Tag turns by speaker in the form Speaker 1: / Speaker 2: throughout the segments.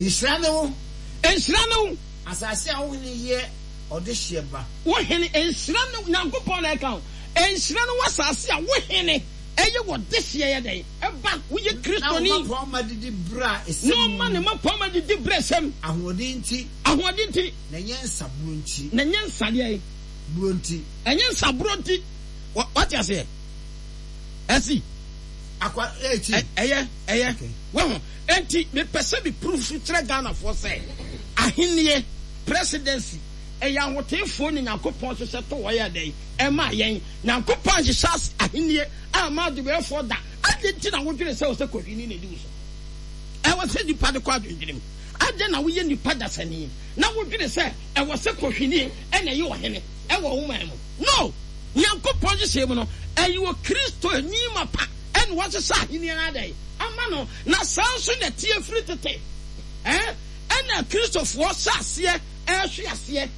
Speaker 1: Nhyira ne wo.
Speaker 2: Nhyira ne wo.
Speaker 1: Asase a wo hene yɛ ɔdehyeɛ ba.
Speaker 2: Wo hene, nhyira ne wo, Nyankopɔn na ɛka o, nhyira ne wo asase a wo hene yɛ ɔdehyeɛ yɛ dɛn? Ba, woyɛ Kristoni.
Speaker 1: Na wo mmapɔmma didi berɛ a ɛsɛ
Speaker 2: mu. Na ɔma ne mmapɔmma didi berɛ a ɛsɛ mu.
Speaker 1: Ahoɔden nti.
Speaker 2: Ahoɔden nti.
Speaker 1: Na ɛnyɛ nsaborɔ nti.
Speaker 2: Na ɛnyɛ nsa deɛn?
Speaker 1: Borɔ nti.
Speaker 2: Ɛnyɛ nsaborɔ nti. Wate aseɛ? Ɛsi.
Speaker 1: Akwa, ɛkyi.
Speaker 2: Ɛyɛ, ɛyɛ. Wahu? Enti mepɛ sɛ me proof so kyerɛ Ghanafoɔ sɛ ahennie, presidency, ɛyɛ ahoteefoɔ na Nyankopɔn hyehyɛ to hɔ yɛɛ dɛn? Ɛmaa yɛn. Nyankopɔn anhyehyɛ ahennie amma adebɛyɛfoɔ da. Adɛn nti na wodwene sɛ ɛwɔ sɛ kɔhwini na ɛdi wo so? Ɛwɔ sɛ nnipa de kɔ adwendwene mu. Adɛn na woyɛ nnipa dasani na wodwene sɛ ɛwɔ sɛ kɔhwini na ɛyɛ ɔhene wɔ wo man mu? No! Nyankopɔn nhyehyɛe mu no, ɛyɛ Okristoni mapa na wahyehyɛ ahenni no adɛn? Ama no. Na saa nso na ɛteɛ firi tete. Ɛɛ, ɛna Kristofoɔ hyɛ aseɛ ɛrehwe aseɛ.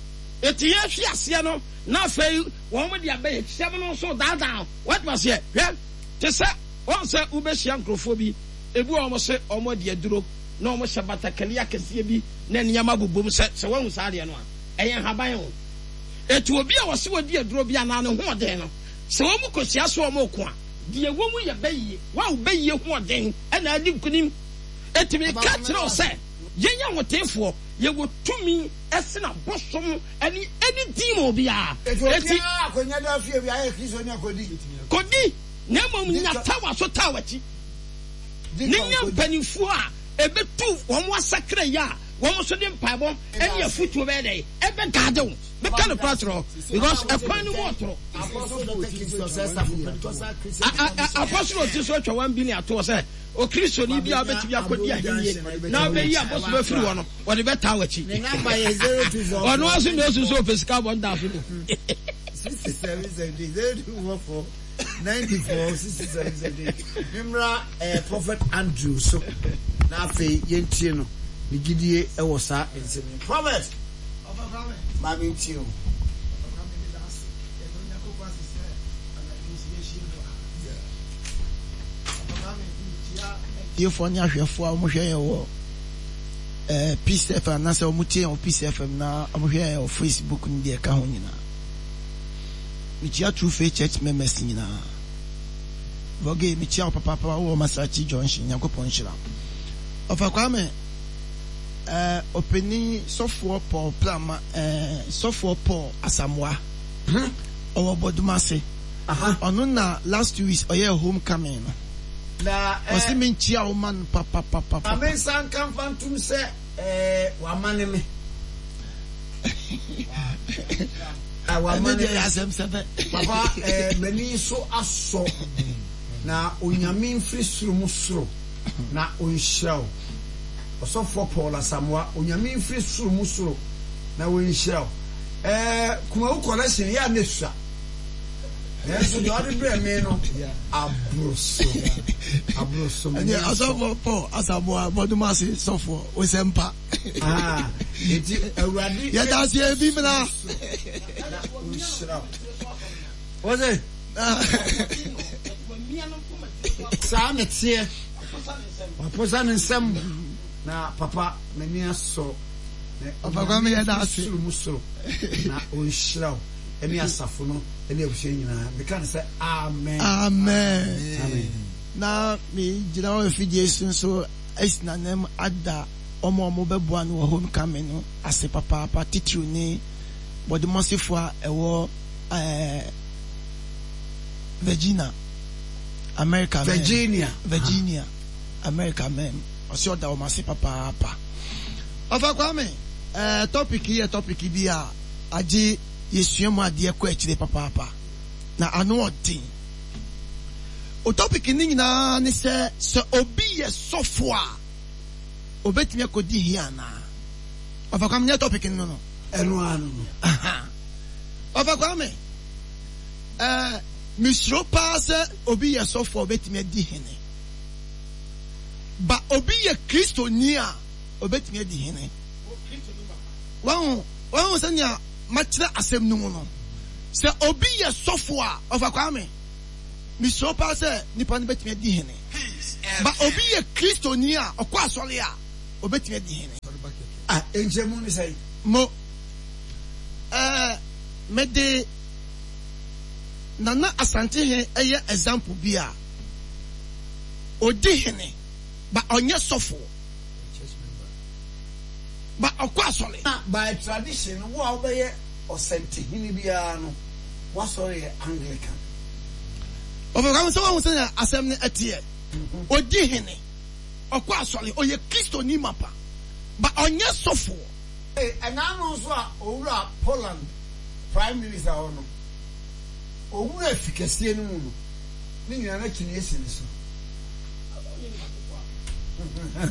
Speaker 2: Enti yɛrehwe aseɛ no, na afei wɔn de abɛyɛkyɛm no nso daadaa. Woate aseɛ? Hwɛ, te sɛ, wɔn sɛ wobɛhyia nkurɔfoɔ bi, ebi wɔ hɔ wɔn se wɔn adi aduro, na wɔn hyɛ batakali akɛseɛ bi, na nneɛma bobom sɛ, sɛ woahu saa adeɛ no a, ɛyɛ nhaban o. Enti obi a wɔse wadi aduro bi anaa ne hoɔden no, sɛ wɔn kɔhyia so wɔn reko a, Deɛ ɛwɔ mu yɛ bɛyie. Wo a wo bɛyie hoɔden na adi nkonim. Enti meka kyerɛ wo sɛ, yɛn ahoteefoɔ, yɛwɔ tumi sene abosom ne any demon biara.
Speaker 1: Enti
Speaker 2: Enti.
Speaker 1: obiara akɔnya daa fie bi ayɛ Kristoni a kɔdi.
Speaker 2: Kɔdi, na mmom nya tawa so taa w'akyi.
Speaker 1: Di
Speaker 2: Ne
Speaker 1: kan
Speaker 2: nya
Speaker 1: kɔdi.
Speaker 2: mpanimfoɔ a ɛbɛtu wɔn asakra yi a wɔn nso de mpaebɔ ne afotuo bɛyɛ dɛn? Ɛbɛgaade wo. Meka nokorɛ akyerɛ wo because ɛkwan no mu ɔtoro. Apostle oti so atwa 1 billion ato hɔ sɛ Okristoni bi a wobɛtumi akɔdi ahennie na wobɛyi abosom afiri hɔ no, wɔde bɛtaa w'akyi. Ɔno ara so na ɔsu sɛ ɔpɛ sika bɔ nda so no.
Speaker 1: 94 67 78 Memmra eh, Prophet Andrew so na afei yɛntie no ne gyidie wɔ saa nsɛm yi. Prophet!
Speaker 3: Ɔfa Kwame.
Speaker 1: Ma me ntie o.
Speaker 3: Ɔfa Kwame meda ase. Yɛda Onyankopɔn ase sɛ anadwo yi nso yɛahyia mu wɔ ha. Ɔfa Kwame mekyia atiefoɔ ne ahwɛfoɔ a wɔhwɛ yɛn wɔ eh, Peace FM anaasɛ wɔtie yɛn wɔ Peace FM na wɔhwɛ yɛn wɔ Facebook ne deɛ ɛka ho nyinaa. Mekyia True Faith Church members nyinaa. Vɔge mekyia wo papaapa wɔ Masarachi Junction. Nyankopɔn nhyira wo. Ɔfa Kwame. Eh, ɔpanin sɔfoɔ Paul Prama, eh, sɔfoɔ Paul Asamoah.
Speaker 1: Hmm.
Speaker 3: Ɔwɔ Bɔdumase.
Speaker 1: Aha.
Speaker 3: Ɔno na last 2 weeks ɔyɛɛ home coming no.
Speaker 1: Na eh.
Speaker 3: Ɔse me nkyia wo ma no papapapapa.
Speaker 1: Ma me nsa nka mfa ntom sɛ eh, wamane me. Ah,
Speaker 3: Ɛno
Speaker 1: wamane
Speaker 3: deɛ
Speaker 1: me.
Speaker 3: yɛ asɛm sɛbɛ.
Speaker 1: Papa, eh, m'ani so asɔ. Na Onyame mfiri soro mu soro na ɔnhyira wo. Ɔsɔfoɔ Paul Asamoah, Onyame mfiri soro mu soro na ɔnhyira wo. Ɛɛ, Kumawu collection yɛ a na esua. Nanso deɛ ɔde brɛ me no, aboro so. Aboro so.
Speaker 3: Ɛnneɛ Ɔsɔfoɔ Paul Asamoah, bɔdom ase sɔfoɔ, wo sɛ mpa.
Speaker 1: Ah, enti Awurade.
Speaker 3: Yɛda ase ebi mmra.
Speaker 1: Na ɔnhyira wo. Wọ́n sẹ́. Saa na ɛteɛ. Waposa ne nsam. Na papa, m'ani asɔ.
Speaker 3: Papa Kwame yɛda ase.
Speaker 1: Soro mu soro. Na ɔnhyira wo ɛne asafo no ɛne abusua nyinaa. Meka no sɛ amen.
Speaker 3: Amen.
Speaker 1: Amen.
Speaker 3: Na megyina wɔ afidie so nso asi n'anam ada wɔn a wɔbɛboa no wɔ homecoming no ase papaapa, titiriw ne bɔdemɔsefoɔ a ɛwɔ ɛɛ Virginia, America mɛm.
Speaker 1: Virginia.
Speaker 3: Virginia, America mɛm. Ɔsɛ ɔda wɔn ase papaapa. Ɔfa Kwame, ɛɛ topic yi yɛ topic bi a agye yɛsua mu adeɛ kɔ akyire papaapa. Na ano ɔden. O topic ne nyinaa ne sɛ, sɛ obi yɛ sɔfo a, obetumi akɔdi hia anaa? Ɔfa Kwame, nyɛ topic no no.
Speaker 1: Ɛno ara no no.
Speaker 3: Aha. Ɔfa Kwame, eh, mesuro paa sɛ obi yɛ sɔfo a obetumi adi hene. Ba obi yɛ Kristoni a obetumi adi hene. Wahu, wahu sɛnea makyerɛ asɛm no mu no. Sɛ obi yɛ sɔfo a, Ɔfa Kwame, mesuro paa sɛ nipa no betumi adi hene. Ba obi yɛ Kristoni a ɔkɔ asɔre a. obetumi adi hene.
Speaker 1: Ah, nkyɛmu ne sɛn?
Speaker 3: Mo, ɛɛ, mede Nana Asantehene yɛ example bi a, odi hene, but ɔnyɛ sɔfoɔ. But ɔkɔ asɔre.
Speaker 1: Na by tradition no, wo a wobɛyɛ ɔsɛntehene biara no, w'asɔre yɛ Anglican.
Speaker 3: Ɔfɛ Kwame sɛ wahu sɛnea asɛm no ɛteɛ. Odi hene, ɔkɔ asɔre, ɔyɛ Kristoni mapa, but ɔnyɛ sɔfoɔ.
Speaker 1: Ɛna ano nso a owura Poland Prime Minister hɔ no, owura fi kɛseɛ no mu no, ne nyinaa na kyiniiɛ si ne so.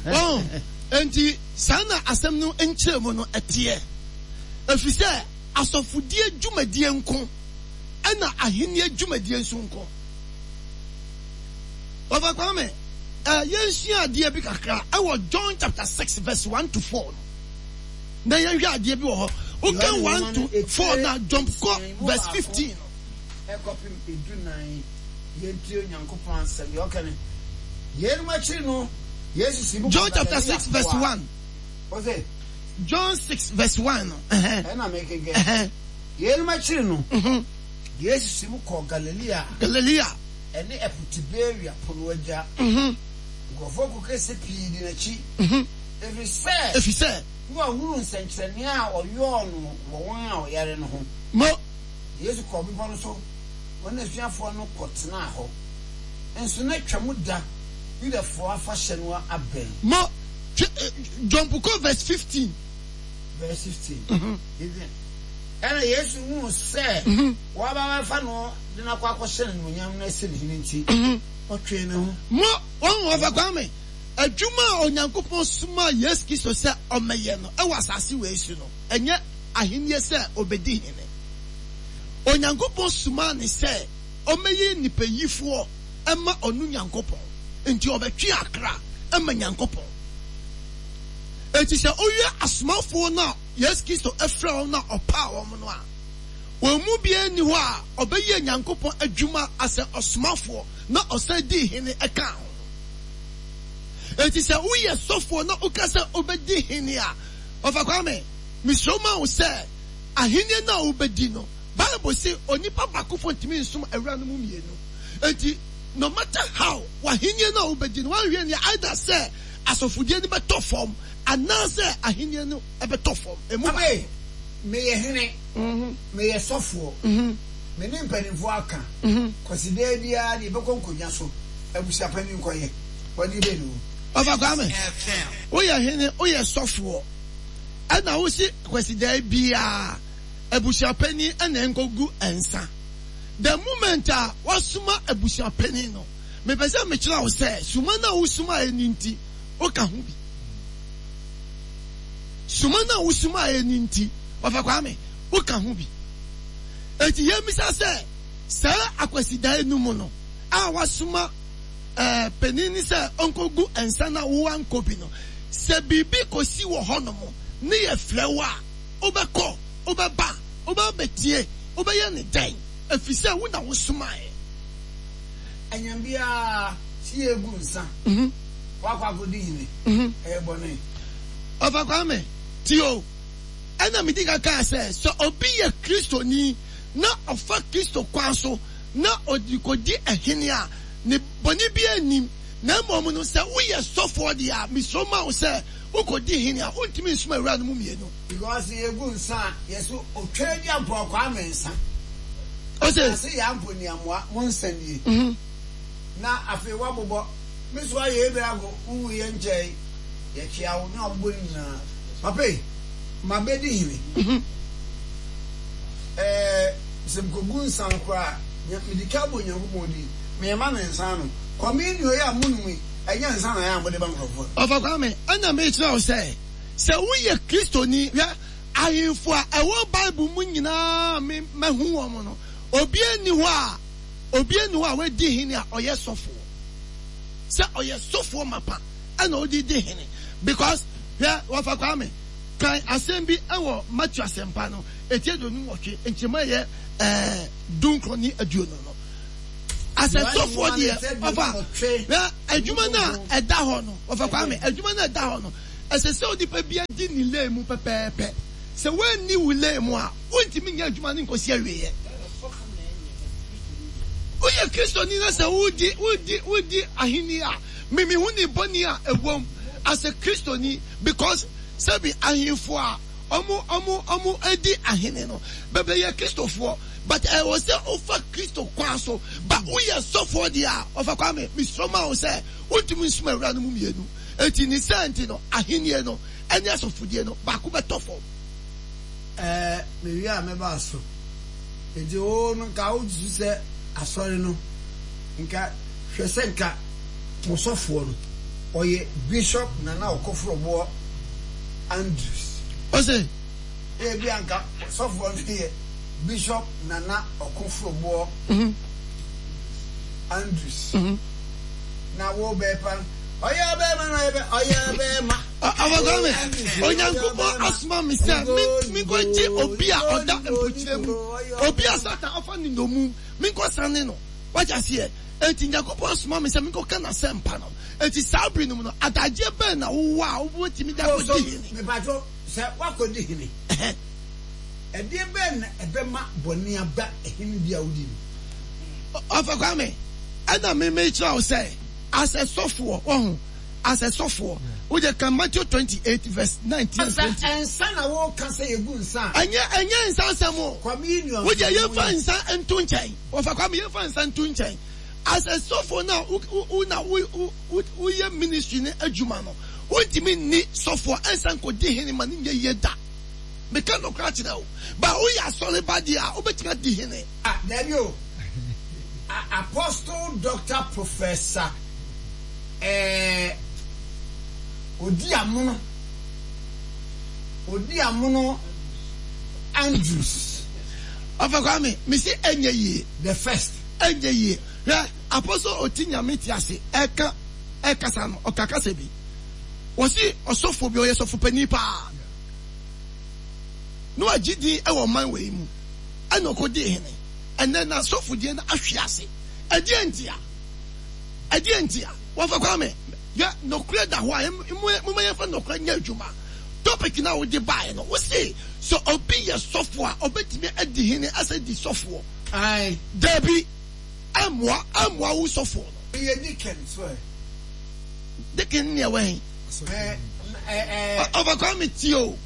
Speaker 3: Wɔn, enti saa na asɛm no nkyerɛmu no teɛ, ɛfiri sɛ asɔfodie dwumadie nko ɛna ahennie dwumadie nso nko. Ɔfa Kwame, eh, yɛnsua adeɛ bi kakra ɛwɔ John chapter 6 verse 1 to 4 no. Na yɛnhwɛ adeɛ bi wɔ hɔ. Wokan 1 to 4 na jump kɔ verse 15 no.
Speaker 1: Ɛkɔpem edunan. Yɛntie Onyankopɔn asɛm. Deɛ ɔka ne, Yeinom akyiri no, Yesu sii mu kɔɔ
Speaker 3: John chapter
Speaker 1: Galilea
Speaker 3: 6 verse
Speaker 1: po a.
Speaker 3: 1.
Speaker 1: Ɔse.
Speaker 3: John 6 verse 1 no. Ɛhɛn.
Speaker 1: Ɛna mekenkan.
Speaker 3: Ɛhɛn.
Speaker 1: Yeinom akyiri no, Yesu sii mu kɔɔ Galilea a.
Speaker 3: Galilea.
Speaker 1: Ɛne ɛpo Tiberia po no agya. Nkurɔfoɔ kuo kɛseɛ pii dii n'akyi, ɛfiri sɛ.
Speaker 3: Ɛfiri sɛ.
Speaker 1: Na wɔahunu nsɛnkyerɛnneɛ a ɔyɔɔ no wɔ wɔn a wɔyare no ho.
Speaker 3: Mo.
Speaker 1: Yesu kɔɔ bepɔ no so, ɔne n'asuafoɔ no kɔtenaa hɔ. Nso na Twam da, Yudafoɔ afahyɛ no abɛn.
Speaker 3: Mo, twe, jump kɔ verse 15.
Speaker 1: Verse 15. Ɛnna Yesu huu sɛ wɔreba abɛfa no de no akɔ akɔhyɛ no animuonyam na asi no hene nti, ɔtwee ne ho.
Speaker 3: Mo, wɔn, Ɔfa Kwame, adwuma a Onyankopɔn somaa Yesu Kristo sɛ ɔmmɛyɛ no wɔ asase wei so no, ɛnyɛ ahenni sɛ obedi hene. Onyankopɔn somaa no sɛ ɔmmɛyɛ nnipayifoɔ mma ɔno Nyankopɔn, enti ɔbɛtwe akra ma Nyankopɔn. Enti sɛ wohwɛ asomafoɔ no a Yesu Kristo frɛɛ wɔn na ɔpaa wɔn no a, wɔn mu biara nni hɔ a ɔbɛyɛɛ Nyankopɔn adwuma asɛ ɔsomafoɔ na ɔsan dii hene kaa ho. Enti sɛ woyɛ sɔfoɔ na woka sɛ wobɛdi hene a, Ɔfa Kwame, mesrɛ ma wo sɛ Ahenni no a wobedi no, Bible se onipa baakofo ntumi nsom awuranom mmienu. Enti, no matter how, w'ahenni no a wobedi no, woanhwɛ anni a, either sɛ asɔfodie no bɛtɔ fam anaasɛ ahenni no bɛtɔ fam. Emu baako.
Speaker 1: Abe, meyɛ hene, meyɛ sɔfoɔ, me ne mpanimfoɔ aka, Kwasidaa biara deɛ yɛbɛkɔ nkonnwa so, abusuapanin nkɔyɛ, bɔne bɛn ne wɔ mu?
Speaker 3: Ɔfa Kwame, woyɛ hene, woyɛ sɔfoɔ. Ɛna wosi Kwasidaa biaa abusuapanin na ɛnkɔgu nsa. The moment a wasoma abusuapanin no, mepɛ sɛ mekyerɛ wo sɛ suma no a wosumaeɛ no nti woka ho bi. Suma no a wosumaeɛ no nti, Ɔfa Kwame, woka ho bi. Enti yɛmmisa sɛ saa Akwasidaa no mu no a wasoma ɛɛ panin no sɛ ɔnkɔgu nsa na woankɔ bi no, sɛ biribi kɔsi wɔ hɔnom ne yɛfrɛ wo a, wobɛkɔ, wobɛba, wobɛba abɛtie, wobɛyɛ no dɛn? Ɛfiri sɛ wo na wosomaeɛ.
Speaker 1: Anyam biara sɛ yɛgu nsa, woakɔ akɔdi hene, ɛyɛ bɔne.
Speaker 3: Ɔfa Kwame, tie o, ɛna medi kan kaa sɛ, sɛ obi yɛ Kristoni na ɔfa Kristo kwan so na ɔde kɔdi hene a, ne bɔne biara nnim, na mmom no, sɛ woyɛ sɔfoɔ deɛ a, mesuro ma wo sɛ wokɔdi hene a, wontumi nsom awuranom mmienu.
Speaker 1: Because yɛgu nsa a, yɛse otwa agya mpo a Kwame nsa.
Speaker 3: Ose.
Speaker 1: Ase yaa mpo niamoa, mo nsa nie. Na afei woabobɔ, me so ayɛ ebere ago, wo wuiɛ nkyɛe, yɛkyea wo, na wabobɔ ne nyinaa. Papa ei, mabɛdi hene. Ɛɛ, sɛ mekɔgu nsa no koraa a, mede ka bɔ Onyankopɔn din, mema no nsa anom. Communion yi a monom yi, ɛnyɛ nsa na ɛyɛ a mode ma nkurɔfoɔ no.
Speaker 3: Ɔfa Kwame, ɛna mekyerɛ wo sɛ, sɛ woyɛ Kristoni, hwɛ, ahemfo a ɛwɔ Bible mu nyinaa a me mahu wɔn no, obiara nni hɔ a, obiara nni hɔ a wadi hene a ɔyɛ sɔfoɔ. Sɛ ɔyɛ sɔfoɔ mapa ɛna ɔde di hene. Because, hwɛ, Wɔfa Kwame, kan asɛm bi wɔ Matthew Asɛmpa no, eti 28, nkyɛmu a ɛyɛ ɛɛ dunkron ne aduonu no. Asɛntɔfoɔ deɛ, ɔfa, hwɛ, adwuma no a ɛda hɔ no, Wɔfa Kwame, adwuma no a ɛda hɔ no, Ɛsɛ sɛ onipa biara di ne lane mu pɛpɛɛpɛ. Sɛ woanni wo lane mu a, wontumi nyɛ adwuma no nkɔsi awieɛ. Woyɛ Kristoni na sɛ wodi wodi wodi ahenni a, me mehu ne bɔne a ɛwom as a Kristoni because sɛbi ahemfo a ɔmo ɔmo ɔmo di ahene no bebree yɛ Kristofoɔ but ɛwɔ sɛ wofa Kristo kwan so ba woyɛ sɔfoɔ deɛ a ɔfa Kwame mesuro ma wo sɛ wontumi nsom awura no mu mmienu enti ne saa nti no ahennie no ɛne asɔfodie no baako bɛtɔ fam.
Speaker 1: Ɛɛ mewie a mɛba so. Enti wo no nka wosusu sɛ asɔre no nka hwɛ sɛ nka mo sɔfoɔ no ɔyɛ Bishop Nana Ɔkɔforɔboɔ Andrews.
Speaker 3: Ɔse.
Speaker 1: Ebia nka sɔfoɔ no yɛ Bishop Nana Ɔkoforoboɔ Andrews. Na wo bɛpa ɔyɛ ɔbɛrima na ɔyɛ ɔyɛ ɔbɛrima.
Speaker 3: Ɔfɔkɔme, Onyankopɔn asoma me sɛ menkɔgye obi a ɔda mpokyerɛ mu, obi a Satan afa no nnommum, menkɔsane no. Wate aseɛ? Enti Nyankopɔn asoma me sɛ menkɔka n'asɛmpa no. Enti saa bere no mu no, adagyeɛ bɛn na wowɔ a wobɛtumi de akɔdi hene?
Speaker 1: Mepatwo, sɛ woakɔdi hene, ɛdeɛ bɛn na ɛbɛma bɔne aba hene bi a wodi
Speaker 3: no? Ɔfa Kwame, ɛna me mekyerɛ wo sɛ, as a sɔfoɔ, wahu, as a sɔfoɔ, wode ka Matthew 28 verse 19 and 20.
Speaker 1: Sɛ nsa na woka sɛ yɛgu nsa
Speaker 3: a. Ɛnyɛ, ɛnyɛ nsa asɛm o.
Speaker 1: Communion.
Speaker 3: Wode yɛmfa nsa nto nkyɛn. Wɔfa Kwame yɛmfa nsa nto nkyɛn. As a sɔfoɔ no a wo na woyɛ ministry no adwuma no, wontumi nni sɔfoɔ ɛnsa nkɔdi hene ma no nyɛ yie da. Meka nɔkorɛ akyerɛ wo. Ba woyɛ asɔre ba deɛ a, wobɛtumi adi hene.
Speaker 1: Ah, daabi o. Apostle Doctor Professor eh, Odi Amono, Odi Amono Andrews.
Speaker 3: Ɔfa Kwame, mese ɛnyɛ yie.
Speaker 1: The first.
Speaker 3: Ɛnyɛ yie. Hwɛ, Apostle Oti Nyame te ase ɛka ɛkasa no, ɔka kasa bi. Wɔsi ɔsɔfo bi, ɔyɛ sɔfo panin paa. Na wagye din ɛwɔ ɔman wei mu. Ɛna ɔkɔdii hene. Ɛnɛ n'asɔfodie no ahwe ase. Ɛdeɛn ntia? Ɛdeɛn ntia? Wɔfa Kwame, hwɛ, nɔkorɛ da hɔ a, momma yɛmfa nɔkorɛ nyɛ adwuma. Topic no a wode baeɛ no, wose sɛ obi yɛ sɔfo a, ɔbɛtumi adi hene asɛ di sɔfoɔ.
Speaker 1: Ae.
Speaker 3: Dabi, ɛmmoa, ɛmmoa wo sɔfoɔ no.
Speaker 1: Meyɛ deacon so ɛ?
Speaker 3: Deacon ne ɛwɔ he?
Speaker 1: Ɛ, ɛ, ɛ.
Speaker 3: Ɔfa Kwame tie o.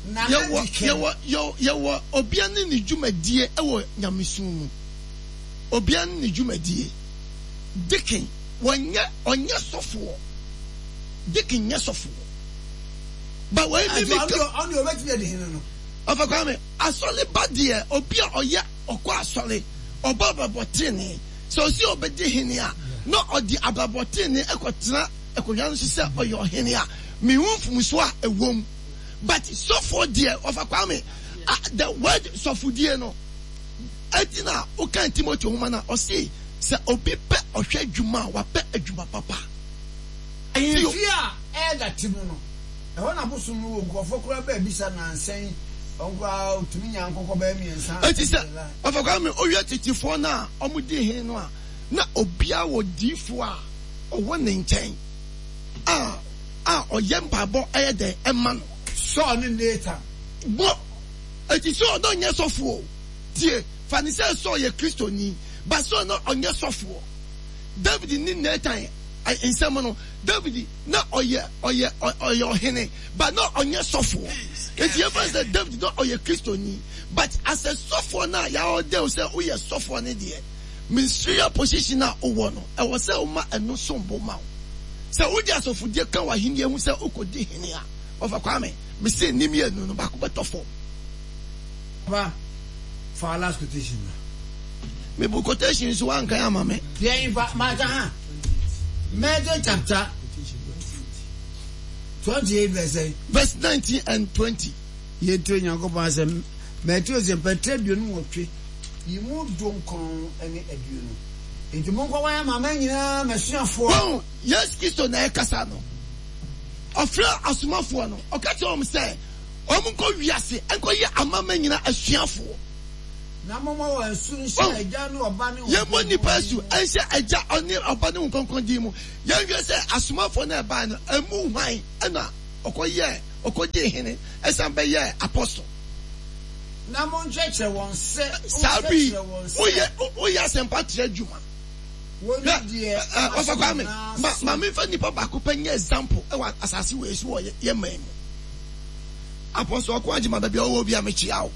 Speaker 1: Nana
Speaker 3: Yɛwɔ,
Speaker 1: deacon.
Speaker 3: yɛwɔ, yɛwɔ, yɛwɔ obia ne ne dwumadie wɔ nyamesom mu. Obia ne ne dwumadie. Deacon, wɔnyɛ, ɔnyɛ sɔfoɔ. Deacon nyɛ sɔfoɔ. Ba wei mi mi ka.
Speaker 1: Ɔno deɛ ɔbɛtumi adi hene no.
Speaker 3: Ɔfa Kwame, asɔre ba deɛ obi a ɔyɛ ɔkɔ asɔre, ɔbɔ abrabɔ tenenee. Sɛ ɔsi ɔbɛdi hene a, na ɔde abrabɔ tenenee kɔtena akonnwa no so sɛ ɔyɛ ɔhene a, menhu mfomsoɔ a ɛwɔ mu. But sɔfoɔ deɛ, Ɔfa Kwame, the word sɔfodie no, ɛti na wokan Timothy nwoma no a, ɔse sɛ obi pɛ ɔhwɛ adwuma a, wapɛ adwuma papa.
Speaker 1: Ahemfie a Elder te mu no, ɛhɔ na bosom no wɔ. Nkurɔfoɔ koraa baa bisa nnansa yi, wɔn koraa wɔtumi nya nkokɔ bɛyɛ mmiɛnsa.
Speaker 3: Enti sɛ Ɔfa Kwame wohwɛ tetefoɔ no a wɔdi hene no a, na obiara wɔ diifoɔ a ɔwɔ ne nkyɛn a a ɔyɛ mpaebɔ ɛyɛ dɛn ɛma no.
Speaker 1: Saul ne Nathan.
Speaker 3: Bɔ. Enti Saul na ɔnyɛ sɔfoɔ o. Tie, fa no sɛ Saul yɛ Kristoni, but Saul na ɔnyɛ sɔfoɔ. David ne Nathan nsɛm no, David na ɔyɛ ɔyɛ ɔyɛ ɔhene, but na ɔnyɛ sɔfoɔ. Nti yɛmfa no sɛ David na ɔyɛ Kristoni, but as a sɔfoɔ no a yɛaordain wo sɛ woyɛ sɔfoɔ no deɛ, ministerial position a wowɔ no, ɛwɔ sɛ woma ɛno som bo ma wo. Sɛ wode asɔfodie ka w'ahennie ho sɛ wokɔdi hene a, Ɔfa Kwame, mese ne mmienu no baako bɛtɔ fam.
Speaker 1: Papa, fa wo last quotation bra.
Speaker 3: Me bu quotation nso wankan ama me.
Speaker 1: Deɛ nfa maka ha. Matthew chapter 28 verse sɛn?
Speaker 3: Verse 19 and 20.
Speaker 1: Yɛntie Onyankopɔn asɛm. Mateo sɛ mpɛtrɛ 28 yi mu dunkron ne 20. Enti monkɔwan amanaman nyinaa m'asuafoɔ.
Speaker 3: Wɔn, Yesu Kristo na ɛkasa no. Ɔfrɛɛ asomafoɔ no, ɔka kyerɛɛ wɔn sɛ wɔnkɔ wiase nkɔyɛ amanaman nyinaa asuafoɔ.
Speaker 1: Na mommɔ wɔn asu nhyɛ Agya ne Ɔba ne Honhom
Speaker 3: Yɛmmɔ nnipa
Speaker 1: Kronkron
Speaker 3: asu
Speaker 1: din mu.
Speaker 3: nhyɛ Agya ne Ɔba ne Honhom Kronkron din mu. Yɛnhwɛ sɛ asomafoɔ no a ɛbaeɛ no, ɛmu hwan na.
Speaker 4: ɔkɔyɛɛ, ɔkɔgyee hene, ɛsan bɛyɛɛ apostle.
Speaker 1: Na monkyerɛkyerɛ wɔn sɛ,
Speaker 4: Saa bere yi,
Speaker 1: monkyerɛkyerɛ wɔn sɛ.
Speaker 4: woyɛ, woyɛ asɛmpa trɛ adwuma.
Speaker 1: Wɔnni
Speaker 4: Hwɛ,
Speaker 1: deɛ
Speaker 4: ɛ, ɛ,
Speaker 1: mahyɛ
Speaker 4: Ɔfa Kwame,
Speaker 1: nyinaa
Speaker 4: ma,
Speaker 1: so.
Speaker 4: ma memfa nnipa baako pɛ nyɛ example wɔ asase wei so wɔ yɛ, yɛ man mu. Apostle Ɔko Agyemang, baabi a ɔwɔ biara mekyea wo.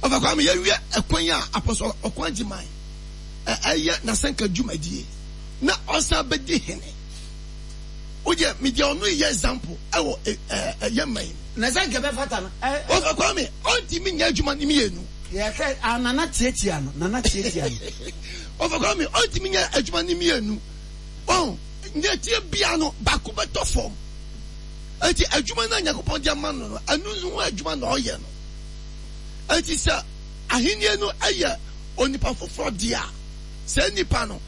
Speaker 4: Ɔfa Kwame, yɛnhwɛ ɛkwan a Apostle Ɔko Agyemang ɛ, ɛyɛ n'asɛnka dwumadie na ɔsan bɛdi hene. Wodeɛ, medeɛ ɔno yɛ example ɛwɔ ɛ, ɛ, ɛ, yɛ man mu.
Speaker 1: Na sɛ nka ɛbɛfata no, ɛ, ɛ.
Speaker 4: Ɔfa Kwame, ɔntumi nyɛ adwuma no mmienu.
Speaker 1: Yɛhwɛ, ah, Nana tiatia no, Nana tiatia no.
Speaker 4: Ɔfa Kwame, ɔntumi nyɛ adwuma no mmienu. Ɔn, nea ɛteɛ biara no, baako bɛtɔ fam. Enti adwuma no a Nyankopɔn de ama no no, ɛno ho adwuma na ɔyɛ no. Enti sɛ ahenni no yɛ onipa foforɔ deɛ a, saa nipa no,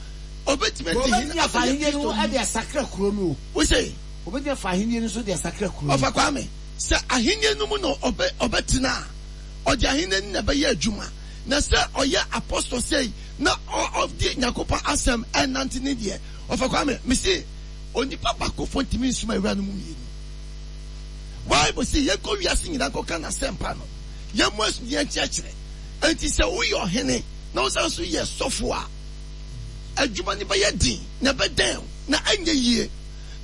Speaker 4: ɔbɛtumi adi hene
Speaker 1: Wɔbɛtumi afa
Speaker 4: abɛyɛ
Speaker 1: ahenni no
Speaker 4: Kristoni.
Speaker 1: de asakra kuro no o.
Speaker 4: Wose?
Speaker 1: Wɔbɛtumi afa ahenni no nso de asakra kuro no.
Speaker 4: Ɔfa Kwame, sɛ ahenni no mu na ɔbɛ, ɔbɛtena a, ɔde ahenni no na ɛbɛyɛ adwuma. Na sɛ ɔyɛ apɔstɔ sei na ɔ, ɔde Nyankopɔn asɛm ɛnante ne deɛ, Ɔfa Kwame, mese, Onipa baakofo ntumi nsom awuranom mmienu. Bible se yɛnkɔ wiase nyinaa nkɔka n'asɛmpa no, yɛmmɔ asu na yɛnkyerɛkyerɛ. Enti sɛ woyɛ ɔhene na wosan nso yɛ sɔfo a, adwuma no bɛyɛ den na ɛbɛdɛn wo na ɛnyɛ yie.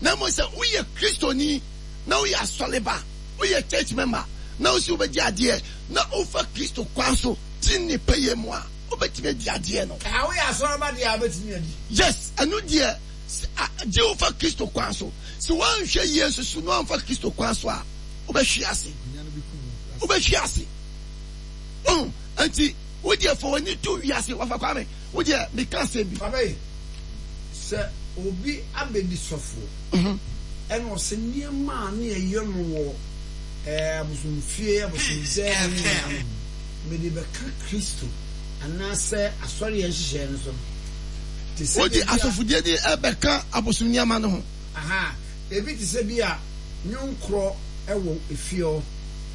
Speaker 4: Na mmom sɛ woyɛ Kristoni na woyɛ asɔreba, woyɛ church member na wose wobɛgye adeɛ na wofa Kristo kwan so te ne pɛyɛ mu a, wobɛtumi adi adeɛ no.
Speaker 1: Ɛha woyɛ asɔreba deɛ a wobɛtumi adi.
Speaker 4: Yes, ɛno deɛ Sɛ gye wo fa Kristo kwan so. Sɛ woanhwɛ yie nso so na woamfa Kristo kwan so a, wobɛhwe ase. Wobɛhwe ase. Wohu? Enti, wo deɛ fa w'ani to wiase. Wafa Kwame, wo deɛ meka asɛm bi.
Speaker 1: Papa yi, sɛ obi abɛdi sɔfoɔ, ɛna ɔsɛ nneɛma a ne yɛyɛ no wɔ ɛɛ abosomfie, abosomdan mu nyinaa no, mede bɛka Kristo anaasɛ asɔreɛ nhyehyɛeɛ no so no. Te sɛ
Speaker 4: Wode
Speaker 1: baabi a.
Speaker 4: asɔfodie no rebɛka abosom nneɛma no ho.
Speaker 1: Aha, ebi te sɛ bi a nnwonkorɔ wɔ efie hɔ.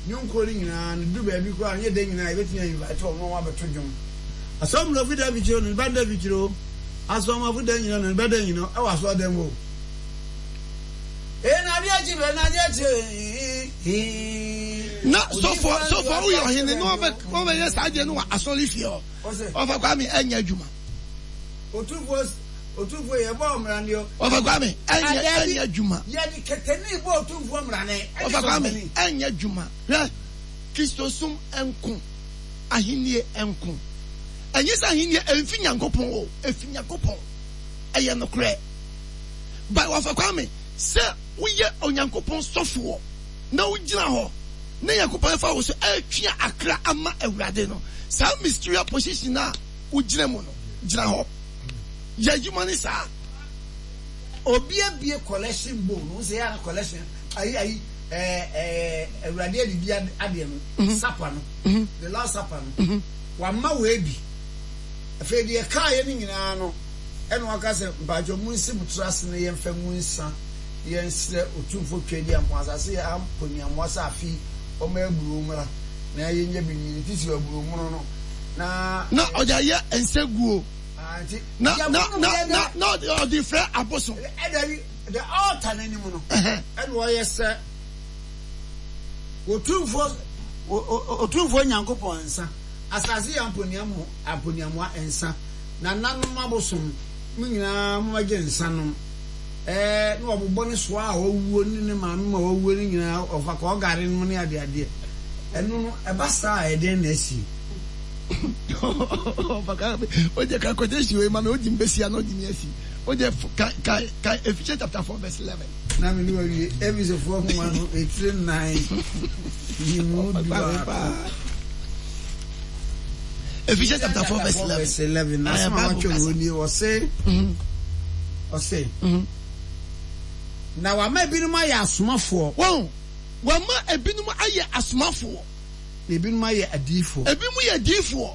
Speaker 1: Nnwonkorɔ no nyinaa no, duru baabi koraa a, ɛnyɛ da nyinaa yɛbɛtumi a invite wɔn na wɔabɛto dwom. Asɔmmrɛfo da afikyire o, ne ba da afikyire o, asɔmmafo da nyina o, ne ba da nyina o, ɛwɔ asɔredan mu o. Ee, na adeɛ akyi bɛ, na adeɛ akyi hee.
Speaker 4: Na sɔfoɔ, sɔfoɔ woyɛ ɔhene na wɔbɛyɛ saa adeɛ no wɔ asɔrefie hɔ. Ɔfa Kwame ɛnyɛ adwuma.
Speaker 1: Otumfoɔ Otumfoɔ yɛ bɔ ɔmrane o.
Speaker 4: Ɔfa Kwame ɛnyɛ ɛnyɛ adwuma.
Speaker 1: Yɛde kɛtɛni bɔ Otumfoɔ mrane.
Speaker 4: Ɔfa Kwame ɛnyɛ adwuma. Hwɛ Kristosom nko ahennie nko. Ɛnyɛ sɛ ahennie ɛnfi Nyankopɔn o, ɛfi Nyankopɔn. Ɛyɛ nokorɛ. But Ɔfa Kwame sɛ woyɛ Onyankopɔn sɔfoɔ na wogyina hɔ na Nyankopɔn ɛfa wo so ɛretwe akra ama Awurade no, saa mysterious position a wogyina mu no, gyina hɔ. Yɛ adwuma no saa.
Speaker 1: Obi abue collection bowl no, wosɛ yɛ ana collection ayi ayi ɛɛ ɛɛ awurade adidi adeɛ no, supper no, the last supper no, wama wei bi. Afei deɛ ɛkaeɛ no nyinaa no, ɛna waka sɛ mpakyɛ mo nsi mo tiri ase na yɛmfa ngu nsa na yɛnsrɛ Otumfoɔ Tweaduampɔn asase yɛ amponiamoa sɛ afe yi ɔmma aburoo mmra na yɛnya bi nni, ne titiriw aburoo mono no. Na.
Speaker 4: Na ɔde ayɛ nsaguo. Na na na na na ɔde ɔde frɛ abosom.
Speaker 1: Ɛdabi, the altar n'anim no, ɛna ɔyɛ sɛ Otumfoɔ Otumfoɔ Nyankopɔn nsa, asase yɛ amponiamo amponiamoa nsa, nananom abosom, mo nyinaa mommɛgye nsa nom. Ɛɛ, na wɔbobɔ ne soa a wawuo ne ne maame ma wawuo no nyinaa, ɔfa kɔɔgare nom ne adeadeɛ. Ɛno no, ɛba saa a, ɛdeɛn na asie?
Speaker 4: Ɔde ka quotation wei ma me, odi mbesia na odi mi asi. Ɔde ka ka ka Ephesians chapter 4 verse 11.
Speaker 1: Na me ne wawie Efesofoɔ nwoma no etire nnan yi mu dubaako.
Speaker 4: Ephesians chapter 4 verse 11.
Speaker 1: Verse 11. Na asɛm a wɔatwerɛ wɔ nie, ɔse, ɔse, na wama ebinom ayɛ asomafoɔ.
Speaker 4: Wɔn, wama ebinom ayɛ asomafoɔ.
Speaker 1: Na ebinom ayɛ adiyifoɔ.
Speaker 4: Ebinom yɛ adiyifoɔ.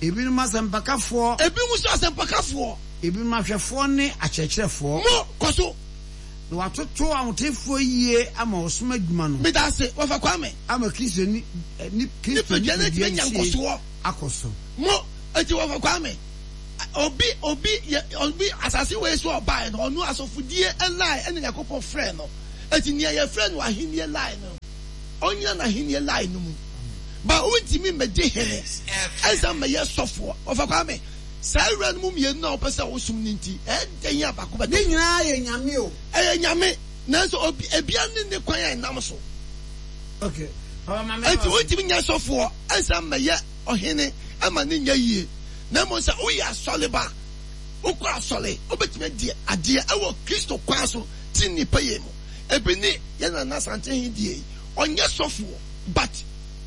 Speaker 1: Ebinom asɛmpakafoɔ.
Speaker 4: Ebinom nso asɛmpakafoɔ.
Speaker 1: Ebinom ahwɛfoɔ ne akyerɛkyerɛfoɔ.
Speaker 4: Mo, kɔ so.
Speaker 1: Na wɔatoto ahotefoɔ yie ama ɔsom adwuma no.
Speaker 4: Meda ase, Wɔfa Kwame.
Speaker 1: Ama Kristo ni, ni, Kristo
Speaker 4: nipadua no atumi anya nkɔsoɔ.
Speaker 1: Akɔ so.
Speaker 4: Mo, enti Wɔfa Kwame, obi, obi yɛ, obi, asase wei so ɔbaeɛ no, ɔno asɔfodie line ɛna Nyankopɔn frɛɛ no. Enti nea yɛfrɛ no ahenni line no, ɔnnyina n'ahenni line no mu. Ba wontumi mmɛdi hene ɛnsan mmɛyɛ sɔfoɔ. Ɔfa Kwame, saa awura no mu mmienu no a wopɛ sɛ wosom no nti, ɛyɛ dɛn a baako bɛtɔ
Speaker 1: Ne
Speaker 4: fam?
Speaker 1: nyinaa yɛ Nyame o.
Speaker 4: Ɛyɛ Nyame, nanso obi, ebia ne ne kwan a ɛnam so.
Speaker 1: Okay. Papa ma me
Speaker 4: Enti wontumi nyɛ sɔfoɔ ɛnsan mmɛyɛ ɔhene ɛma no nyɛ yie. Na mmom sɛ woyɛ asɔreba, wokɔ asɔre, wobɛtumi adi adeɛ ɛwɔ Kristo kwan so tenenee pɛyɛ mu. Ebi ne yɛn Nana Asantehene deɛ yi, ɔnyɛ sɔfoɔ but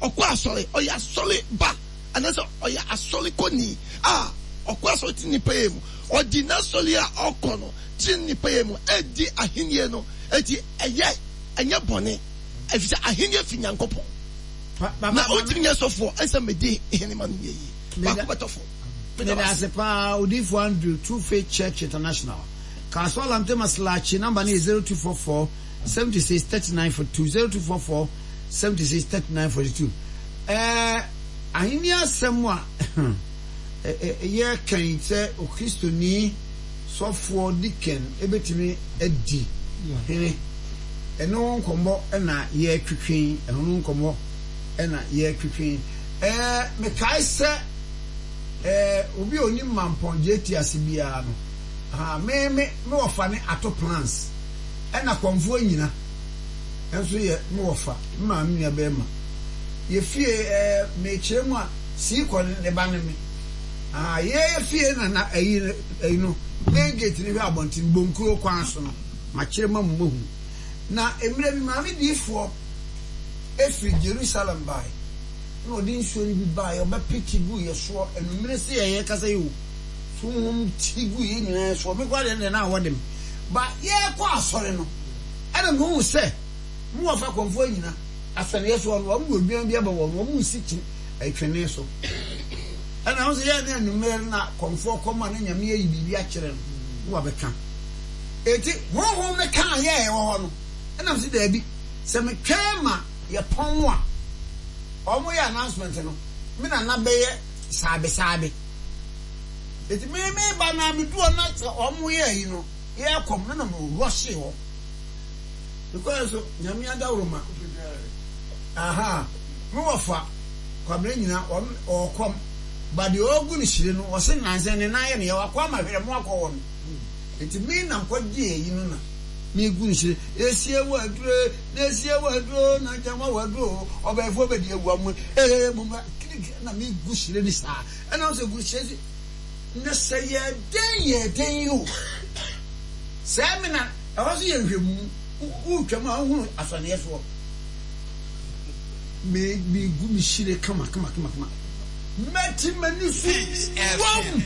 Speaker 4: ɔkɔ asɔre, ɔyɛ asɔre ba anaasɛ ɔyɛ asɔre kɔni a ɔkɔ asɔre tenenee pɛyɛ mu. Ɔdi n'asɔre a ɔkɔ no tenenee pɛyɛ mu ɛredi ahennie no, enti ɛyɛ, ɛnyɛ bɔne, ɛfiri sɛ ahennie firi Nyankopɔn. Na wontumi nyɛ sɔfoɔ ɛnsɛ medi hene ma no nyɛ yie. Baako bɛtɔ fam.
Speaker 1: Meda ase paa Odiyifo Andrew, True Faith Church International. Kasoa Lamte Maslachi number no yɛ 0244 76 39 42, 0244 76 39 42. Ɛɛ Ahenni asɛm a yɛreka yi sɛ Okristoni sɔfoɔ deacon bɛtumi adi hene, ɛno ho nkɔmmɔ na yɛretwetwe yi, ɛno ho nkɔmmɔ na yɛretwetwe yi. Ɛɛ mekae sɛ ɛɛ obi a onim Mampɔn JT ase biara no, aha, me me me wɔfa ne Ato Plans, ɛna Kɔmfoɔ Nyina nso yɛ me wɔfa, me maame nua bɛrima. Yɛ fie ɛɛ mekyerɛ mu a, sii kɔ ne ne ba ne me. Aha, yɛ fie na na ɛyi ɛyi no, main gate no hwɛ abɔnten, Bonkuro kwan so no, makyerɛ mu ama moahu. Na mmerɛ bi maame diifoɔ firi Jerusalem bae. Ɛna ɔde nsuo no bi baeɛ, ɔbɛpete guu yɛ soɔ anwummere se yɛ yɛkasa yi o, honhom te guu yɛ nyinaa soɔ, me koraa deɛ ɛndeɛ na awɔ de me, ba yɛrekɔ asɔre no, ɛna mehuu sɛ me wɔfa akɔmfoɔ anyina asɛnneɛ soɔ no, wɔn de odwan bi aba wɔn, wɔn resi kye twene so, ɛna ho sɛ yɛ ne anwummere no na kɔmfoɔ kɔm a na Nyame ayi biribi akyerɛ no, na wabɛka. Eti honhom no kaa yɛ ɛwɔ hɔ no, ɛna mese daabi, sɛ metwɛn ma yɛpɔn a ɔmo yɛ announcement no me nana bɛyɛ saabe saabe eti me me ba na me du hɔ na sɛ ɔmo yɛ ayi no yɛ kɔm no na me rɔhye hɔ mekɔɛ so nyame adaworoma aha me wɔfa kwabena nyina ɔno ɔkɔm ba deɛ ɔgu no hyire no ɔse nansa ne nan yɛ no yɛ wakɔ ama hwerɛ mo akɔ hɔ no eti me nam kɔ gye ayi no na Megu nhyire esie waduro e na esie waduro na nkyɛnwa waduro o ɔbɛɛfoɔ bɛdi awu amu ee mo mma kirikiri na megu hyire ni saa ɛna sɛ gu hyire si na sɛ yɛ den yɛ den yi o sɛ me na ɛhɔ so yɛ nhwɛmu wotwam a wohunu asɔneɛ soɔ me megu me hyire kama kama kama kama mɛte m'ani so wɔm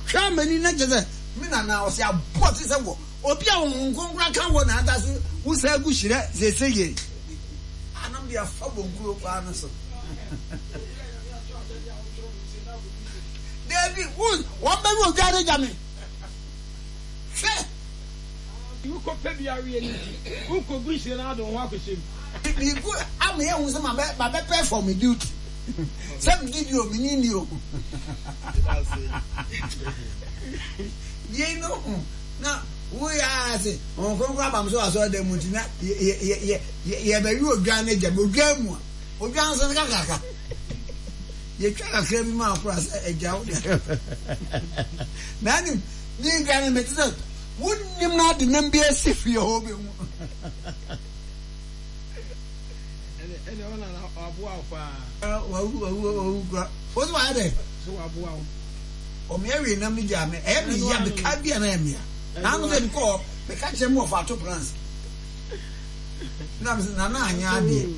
Speaker 1: twa m'ani na kyɛ sɛ Me nana ɔse aboɔ te sɛ wɔ obi a honhom kronkron aka wɔ na ada so wo saa gu hyerɛ sese yei anam de afa bonkuro kwaa no so dabi wo wɔn bɛwe odwa de gya me hwɛ.
Speaker 2: Wokɔ pɛ bi aweɛ no nti wokɔ gu nhyire no ade wo ho akɔhyɛ mu.
Speaker 1: Megu ama yɛhu sɛ mabɛ mabɛ perform me duty sɛ me didi o me nini o yei no ho na woyɛ ara se Honhom Kronkron aba me so wɔ asɔredan mu nti na yɛbɛwe odwan no agya me odwan mu a odwan nso no kakraka yɛtwa kakra bi ma akora sɛ agya wo deɛ na anim ne dwa no mete sɛ wonnim no ade nam bi asi fie hɔ bɛhu
Speaker 2: Ɛne ɔna na waboa wo paa.
Speaker 1: Wawu wawu wawu kura. Wo so wayɛ dɛ.
Speaker 2: So waboa wo.
Speaker 1: Ɔmea wie nam ne gyaa me. Ɛyɛ me ya meka bi a na ɛyɛ me ya. Na ano sɛ mekɔ meka kyerɛ mu ɔfa ato plans. Na me sɛ nana anyɛ adeɛ.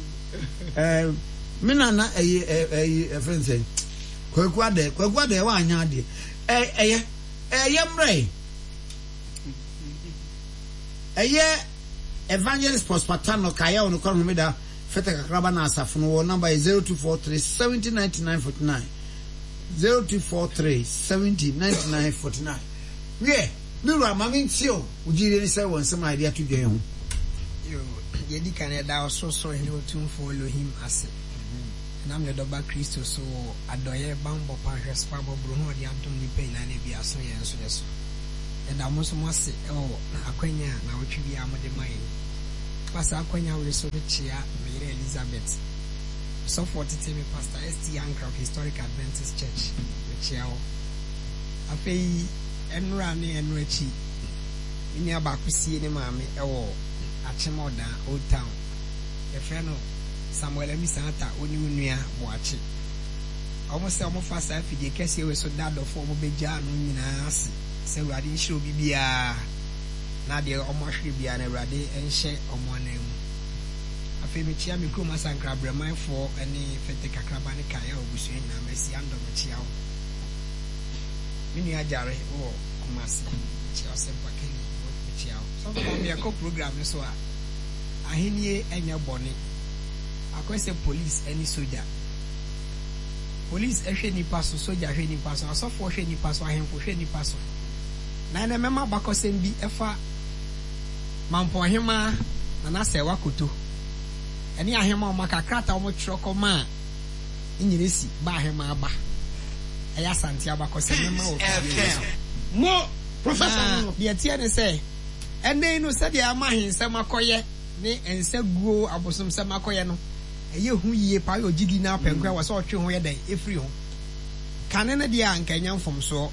Speaker 1: Ɛɛ me nana ɛyi ɛyi ɛfrɛ nsɛn. Kwaku adɛ kwaku adɛ wanyɛ adeɛ. Ɛyɛ ɛyɛ mmerɛ yi. Ɛyɛ. Evangelist Prosper Tanno kaeɛ wɔ nokware homeda fɛtɛ kakraba na asafo no wɔ namba yɛ 0243 70 99 49 0243 70 99 49 Wiɛ, me wura ma me ntie o, wo gyidie ne sɛ wɔ nsɛm a yɛde ato dwa yi ho.
Speaker 3: Yoo, deɛ ɛdi kan yɛda Ɔsorosoro Hene Otumfoɔ Elohim ase, ɛnam Ne Dɔba Kristo so wɔ adɔeɛ, banbɔ pa, nhwɛso pa, mmɔborɔhunu a ɔde adom nnipa nyinaa na ebi aso yɛn nso yɛ so.
Speaker 5: Yɛda mo nso mo ase wɔ akwanya a naawɔtwe biara mode ma yɛn. Fa saa akwanya wei so kyea me yere Elizabeth, ɔsɔfo a ɔtetee me Pastor ST. Ankrah of Historic Adventist Church. Mekyea wo. Afei ɛnora ne ɛno akyi, me nua baako sie ne maame wɔ Akyem Ɔdan, Old Town. Yɛfrɛ no Samuel Amisa Atta, wo ne wo nua Boakye. Wɔn sɛ wɔfa saa afidie kɛseɛ wei so da adɔfoɔ a wɔbɛgyaa no nyinaa ase sɛ Awurade nhyira obi biara na deɛ wɔahwere biara no Awurade nhyɛ wɔn anan mu. Afei mekyea me kurom Asankra Brɛmanfoɔ ne Fete Kakraba ne Kaeɛ abusua nyinaa, Mercy Andor mekyea wo. Me nua Gyare wɔ Kumasi mekyea wo, Sempa Kelly mekyea wo. Sɔfo Kwame yɛkɔ program no so a, ahennie nyɛ bɔne, akɔyɛ sɛ police ne sogya. Police hwɛ nnipa so, sogya hwɛ nnipa so, asɔfoɔ hwɛ nnipa so, ahemfo hwɛ nnipa so. Na ɛnɛ mɛma abakɔsɛm bi ɛfa Mampɔn Hemaa Nana Sɛɛwa Koto ɛne ahemaa a wɔaka krataa a wɔtwerɛ kɔmaa Nnyiresi ba ahemaa ba. Ɛyɛ Asante abakɔsɛm mɛma wɔ fidie wei so.
Speaker 2: Mo Professor
Speaker 5: Na
Speaker 2: no no.
Speaker 5: deɛ ɛteɛ ne sɛ, ɛnnɛ yi no sɛdeɛ ama ahensɛm akɔyɛ ne nsa guo abosomsɛm akɔyɛ no, ɛyɛ hu yie paa, ɔyɛ ogyidi na apɛ nkoa wɔ sɛ ɔtwe ho yɛ dɛn ɛfiri ho. Kane no deɛ a anka ɛnyɛ mfomsoɔ.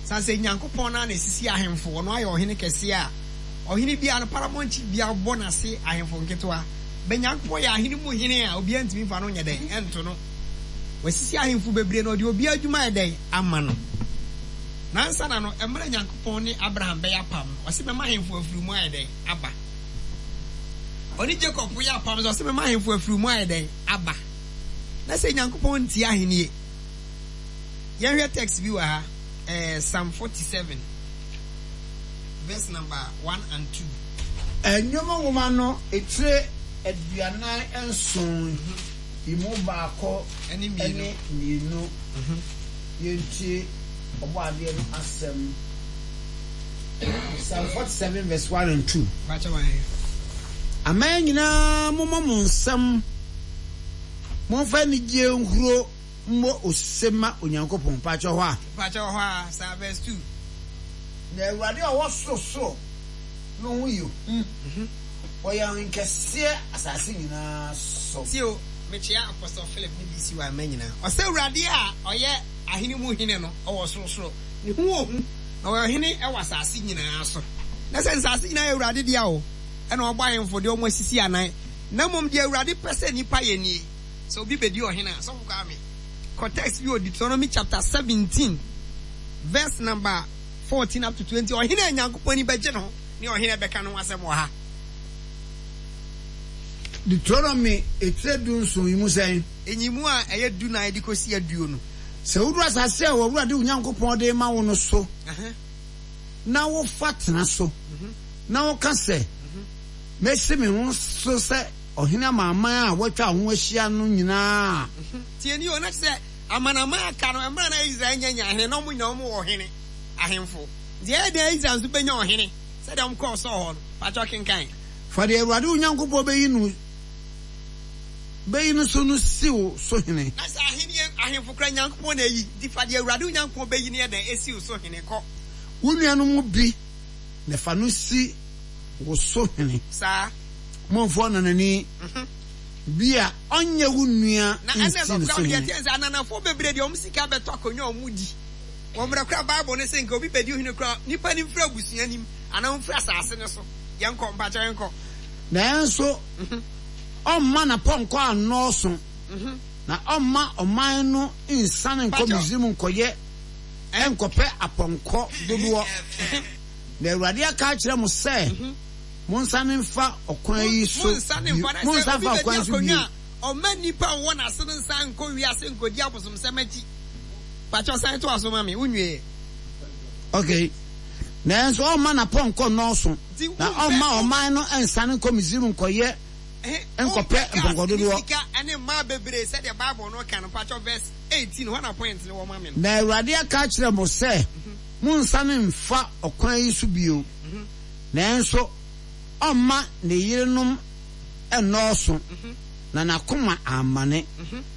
Speaker 5: Sane sɛ Nyankopɔn no ara na ɛsisi ahemfo, ɔno ayɛ ɔhene kɛseɛ a ɔhene biara no paramount chief biara bɔ n'ase ahemfo nketewa. Bɛ Nyankopɔn yɛ ahene mu hene a obiara ntumi mfa no nyɛ dɛn ɛnto no. Wasisi ahemfo bebree na ɔde obiara adwuma ayɛ dɛn ama no. Nansa na no, mmerɛ Nyankopɔn ne Abraham bɛyɛ apam no, ɔse mɛma ahemfo afiri mu ayɛ dɛn aba. Ɔne Jacob yɛ apam sɛ ɔse mɛma ahemfo afiri mu ayɛ dɛn aba. Na sɛ Nyankopɔn ntie ahennie. Yɛnhwɛ text bi wɔ ha, eh, Psalm 47 verse number 1 and 2.
Speaker 1: Nnwom nwoma no etire 47 yi mu baako
Speaker 5: ne
Speaker 1: mmienu. Yɛntie Ɔbɔadeɛ no asɛm. Psalm 47 verse 1 and 2. Aman nyinaa mommɔ mo nsam, momfa anigyeɛ nhuro mmɔ ose mma Onyankopɔn. Mpakyɛ hɔ a.
Speaker 5: Mpakyɛ hɔ a, saa verse 2.
Speaker 1: Na Awurade a ɔwɔ sorosoro no ho yɛ hu, ɔyɛ ɔhenkɛseɛ asase nyinaa so.
Speaker 5: Tie o, mekyea Apostle Philip ne BCY mma nyinaa. Ɔsɛ Awurade a ɔyɛ ahene mu hene no, ɔwɔ sorosoro. Ne ho wɔ hu, na ɔyɛ ɔhene wɔ asase nyinaa so. Na sɛ nsase nyinaa yɛ Awurade dea o, ɛna ɔbɔ ahemfo de wɔn asisi anan. Na mmom deɛ Awurade pɛ sɛ nnipa yɛ nie, sɛ obi bɛdi ɔhene a, Sɔfo Kwame, kɔ text bi wɔ Deuteronomy chapter 17 verse number 14 up to 20, ɔhene a Nyankopɔn ani bɛgye ne ho ne ɔhene a ɛbɛka ne ho asɛm wɔ ha.
Speaker 1: Deuteronomy etire dunson yi mu sɛn?
Speaker 5: Nyiyimu a ɛyɛ dunan de kɔsi aduonu.
Speaker 1: Sɛ wudu asase a w'Awurade wo Nyankopɔn de rema wo no so na wofa tena so, na woka sɛ, Mesi me ho so sɛ ɔhene ama aman a wɔatwa wo ho ahyia no nyinaa a.
Speaker 5: Tie nie o, na kyerɛ sɛ amanaman a aka no, mmerɛ a na Israel nnya nyaa hene, na wɔn nyinaa wɔn wɔ ɔhene, ahemfo. Nti ɛyɛ dɛn a Israel nso bɛnya ɔhene sɛdeɛ wɔn kɔɔ Saul hɔ no? Pakyɛ kenkan.
Speaker 1: Fa deɛ Awurade wo Nyankopɔn bɛyi no bɛyi no so no si wo so hene.
Speaker 5: Na sɛ ahenni ahemfo koraa Nyankopɔn na ayi, nti fa deɛ Awurade wo Nyankopɔn bɛyi no yɛ dɛn? Si wo so hene. Kɔ.
Speaker 1: Wo nuanom mu bi na fa no si wo so hene.
Speaker 5: Saa.
Speaker 1: Momfa ɔnanani bi a ɔnyɛ wo nua
Speaker 5: Na ɛnna
Speaker 1: nsi
Speaker 5: ɛsɔfo
Speaker 1: no so
Speaker 5: koraa deɛ
Speaker 1: hene.
Speaker 5: ɛteɛ ne sɛ ananafoɔ bebree deɛ wɔn sika bɛtɔ akonnwa a wɔdi. Wɔ mmerɛ koraa Bible no se nka obi bɛdi hene koraa nipa no mfiri abusua no mu anaa ɔmfiri asase no so. Yɛnkɔ, mpakyɛw yɛnkɔ.
Speaker 1: Nanso ɔmma n'apɔnkɔ annɔɔso, na ɔmma ɔman no nsiane nkɔ Misraim nkɔyɛ nkɔpɛ apɔnkɔ dodoɔ. Na Awurade aka akyerɛ mo sɛ, Monnsane mfa ɔkwan yi so
Speaker 5: Monnsane
Speaker 1: bio.
Speaker 5: mfa, na sɛ
Speaker 1: Monnsane
Speaker 5: obi
Speaker 1: mfa
Speaker 5: bɛdi
Speaker 1: ɔkwan yi so
Speaker 5: akonnwa
Speaker 1: bio.
Speaker 5: a, ɔmma nnipa a wɔwɔ n'ase no nsan nkɔ wiase nkɔdi abosomsɛm akyi. Pakyɛw san toa so ma me, wonwieɛ.
Speaker 1: Okay. Nanso ɔmma n'apɔnkɔ nnɔɔso,
Speaker 5: Nti
Speaker 1: na
Speaker 5: wompɛ,
Speaker 1: ɔmma ɔman no nsiane nkɔ Misraim nkɔyɛ
Speaker 5: Ɛhe,
Speaker 1: nkɔpɛ
Speaker 5: wompɛ cars
Speaker 1: mpɔnkɔ
Speaker 5: ne
Speaker 1: dodoɔ.
Speaker 5: sika ne mmaa bebree sɛdeɛ Bible no ka no. Pakyɛw verse 18, hɔ na point no wɔ ma me no.
Speaker 1: Na Awurade aka akyerɛ mo sɛ, Monnsane mmfa ɔkwan yi so bio. Nanso ɔmma ne yerenom nnɔɔso, na n'akoma ammane.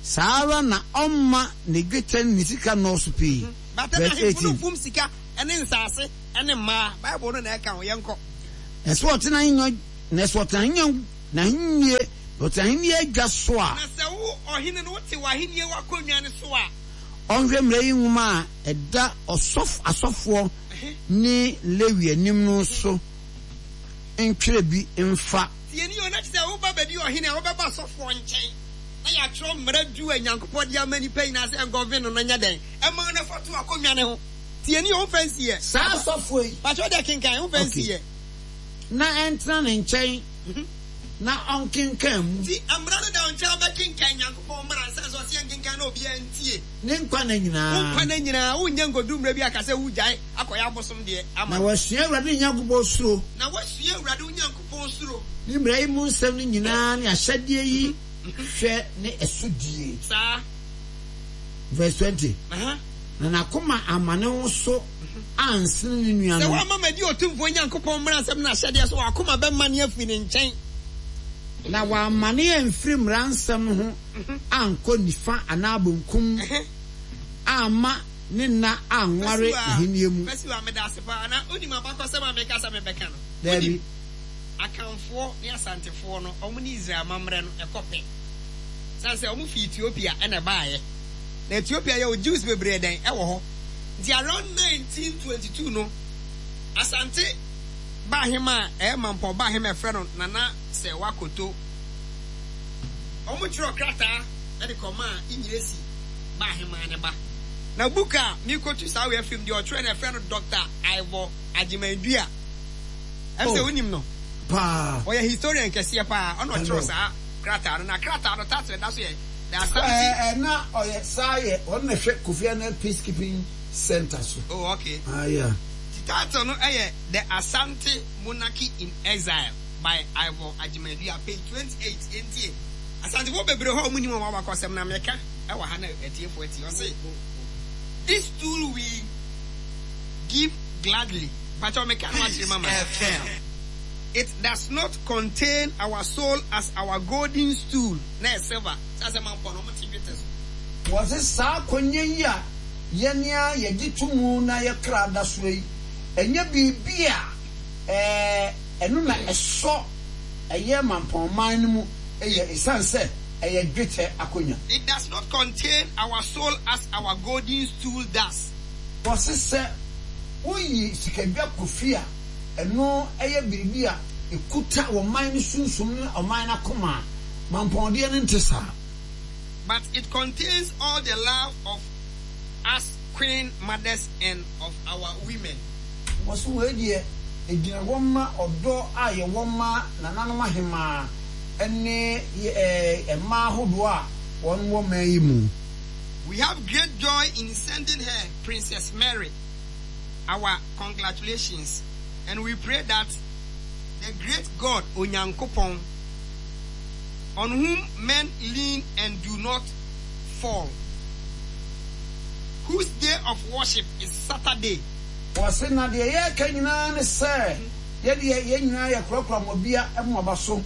Speaker 1: Saa ara na ɔmma ne dwetɛ ne ne sika nnɔɔso pii.
Speaker 5: But na
Speaker 1: Verse
Speaker 5: ahemfo no
Speaker 1: 18.
Speaker 5: mfom sika. ne nsase ne mmaa. Bible no na ɛka ho. Yɛnkɔ.
Speaker 1: Na sɛ ɔte n'ahennwa, na sɛ ɔte n'ahennwa, n'ahennie, na ɔte ahennie adwa so a.
Speaker 5: Na sɛ wo, ɔhene no, wote w'ahennie w'akonnwa no so a.
Speaker 1: Ɔnhwɛ mmara yi nwoma a ɛda ɔsɔfo, asɔfoɔ ne Lewi anim no so ntwerɛ bi mfa.
Speaker 5: Tie nie o, na kyerɛ sɛ woba bɛdi ɔhene a, wobɛba asɔfoɔ nkyɛn na yɛatwerɛ mmara du a Nyankopɔn de ama nnipa nyinaa sɛ ɛngɔve no no nyɛ dɛn? Ɛma no fa to akonnwa no ho. Tie nie o, womfa nsi ɛ.
Speaker 1: Saa asɔfoɔ yi.
Speaker 5: Pakyɛ wodeɛ kenkan, womfa nsi
Speaker 1: Okay.
Speaker 5: ɛ.
Speaker 1: Na ɛntena ne nkyɛn na ɔnkenkan mu.
Speaker 5: Nti mmara no da wo nkyɛn a wobɛkenkan Nyankopɔn mmara ɛsiane sɛ ɔse yɛnkenkan na obiara ntie.
Speaker 1: Ne nkwa nna nyinaa.
Speaker 5: Wo nkwa nna nyinaa, wonyɛ nkodu mmerɛ bi aka sɛ wogyae akɔyɛ abosom deɛ ama
Speaker 1: Na
Speaker 5: no.
Speaker 1: wasua Awurade ne Nyankopɔn suro.
Speaker 5: Na wasua Awurade wo Nyankopɔn suro.
Speaker 1: Ne mmara yi mu nsɛm no nyinaa ne ahyɛdeɛ yi hwɛ ne ɛso die.
Speaker 5: Saa.
Speaker 1: Verse 20.
Speaker 5: Aha.
Speaker 1: Na n'akoma amma ne ho so ansene ne
Speaker 5: Sɛ
Speaker 1: nuanom.
Speaker 5: woamma madi Otumfoɔ Nyankopɔn mmaransɛm ne n'ahyɛdeɛ so, w'akoma bɛmane afiri ne nkyɛn.
Speaker 1: Na wammane amfiri mmara nsɛm no ho ankɔ nifa anaa benkum amma ne nna anware
Speaker 5: Fasiwa,
Speaker 1: n'ahennie mu.
Speaker 5: Fasiwa, meda ase paa. Na wonim abakɔsɛm a meka sɛ mebɛka no?
Speaker 1: Daabi.
Speaker 5: Wonim? Akanfoɔ ne Asantefoɔ no, wɔn ne Israel amammerɛ no, ɛkɔ pɛ. Sane sɛ wɔn fi Ethiopia na ɛbaeɛ. Na Ethiopia yɛwɔ Jews bebree dɛn ɛwɔ hɔ. Nti around 1922 no, Asante Baahema a ɛyɛ Mampɔn Baahema a yɛfrɛ no Nana Serwaa Koto, wɔtwerɛɛ krataa de kɔmaa Inyiresi Baahema ne ba. Na book a merekɔtu saa wei afiri mu deɛ ɔtwerɛ no yɛfrɛ no Doctor Ivor Agyeman-Duah. Ɛm sɛ
Speaker 1: Oh,
Speaker 5: wonim no.
Speaker 1: paa.
Speaker 5: Ɔyɛ historian kɛseɛ paa. Ɔna
Speaker 1: I
Speaker 5: ɔtwerɛ
Speaker 1: know.
Speaker 5: saa krataa no. Na krataa no title a ɛda so yɛ The Asante.
Speaker 1: Ɛɛ, na ɔyɛ saa yɛ, ɔno na ɛhwɛ Kofi Annan Peacekeeping Centre so.
Speaker 5: Oh, okay.
Speaker 1: Ah, yeah.
Speaker 5: Nti title no yɛ The Asante Monarchy in Exile by Ivor Agyeman-Duah, page 28. Yɛntie. Asantefoɔ bebree hɔ a wɔnnim wɔn abakɔsɛm na meka wɔ ha na atiefoɔ atie. Ɔse, This tool we give gladly. Mpakyɛw meka no akyerɛ mama. It does not contain our soul as our golden stool. Na ɛyɛ silver. Sɛ asɛm ampɔ no, wɔte dwetɛ so.
Speaker 1: Wɔse saa akonnwa yi a yɛn ara yɛgye to mu na yɛn kra da soɔ yi, ɛnyɛ biribi a ɛno na ɛsɔ ɛyɛ mampɔnman no mu yɛ esiane sɛ ɛyɛ dwetɛ akonnwa.
Speaker 5: It does not contain our soul as our golden stool does.
Speaker 1: Wɔse sɛ woyi sikadwa kɔ fie a, ɛno yɛ biribi a ɛkuta ɔman no sunsum ne ɔman no akoma a, mampɔndeɛ no nte saa.
Speaker 5: But it contains all the love of us queen mothers and of our women.
Speaker 1: Wɔse wei deɛ ɛgyina hɔ ma ɔdɔ a yɛwɔ ma nananom ahemaa ne mmaa ahodoɔ a wɔn wɔ man yi mu.
Speaker 5: We have great joy in sending her, Princess Mary, our congratulations and we pray that the great God Onyankopɔn, on whom men lean and do not fall, whose day of worship is Saturday.
Speaker 1: Wɔse na deɛ yɛreka nyinaa ne sɛ yɛdeɛ yɛn nyinaa yɛkorakora mo abia mo aba so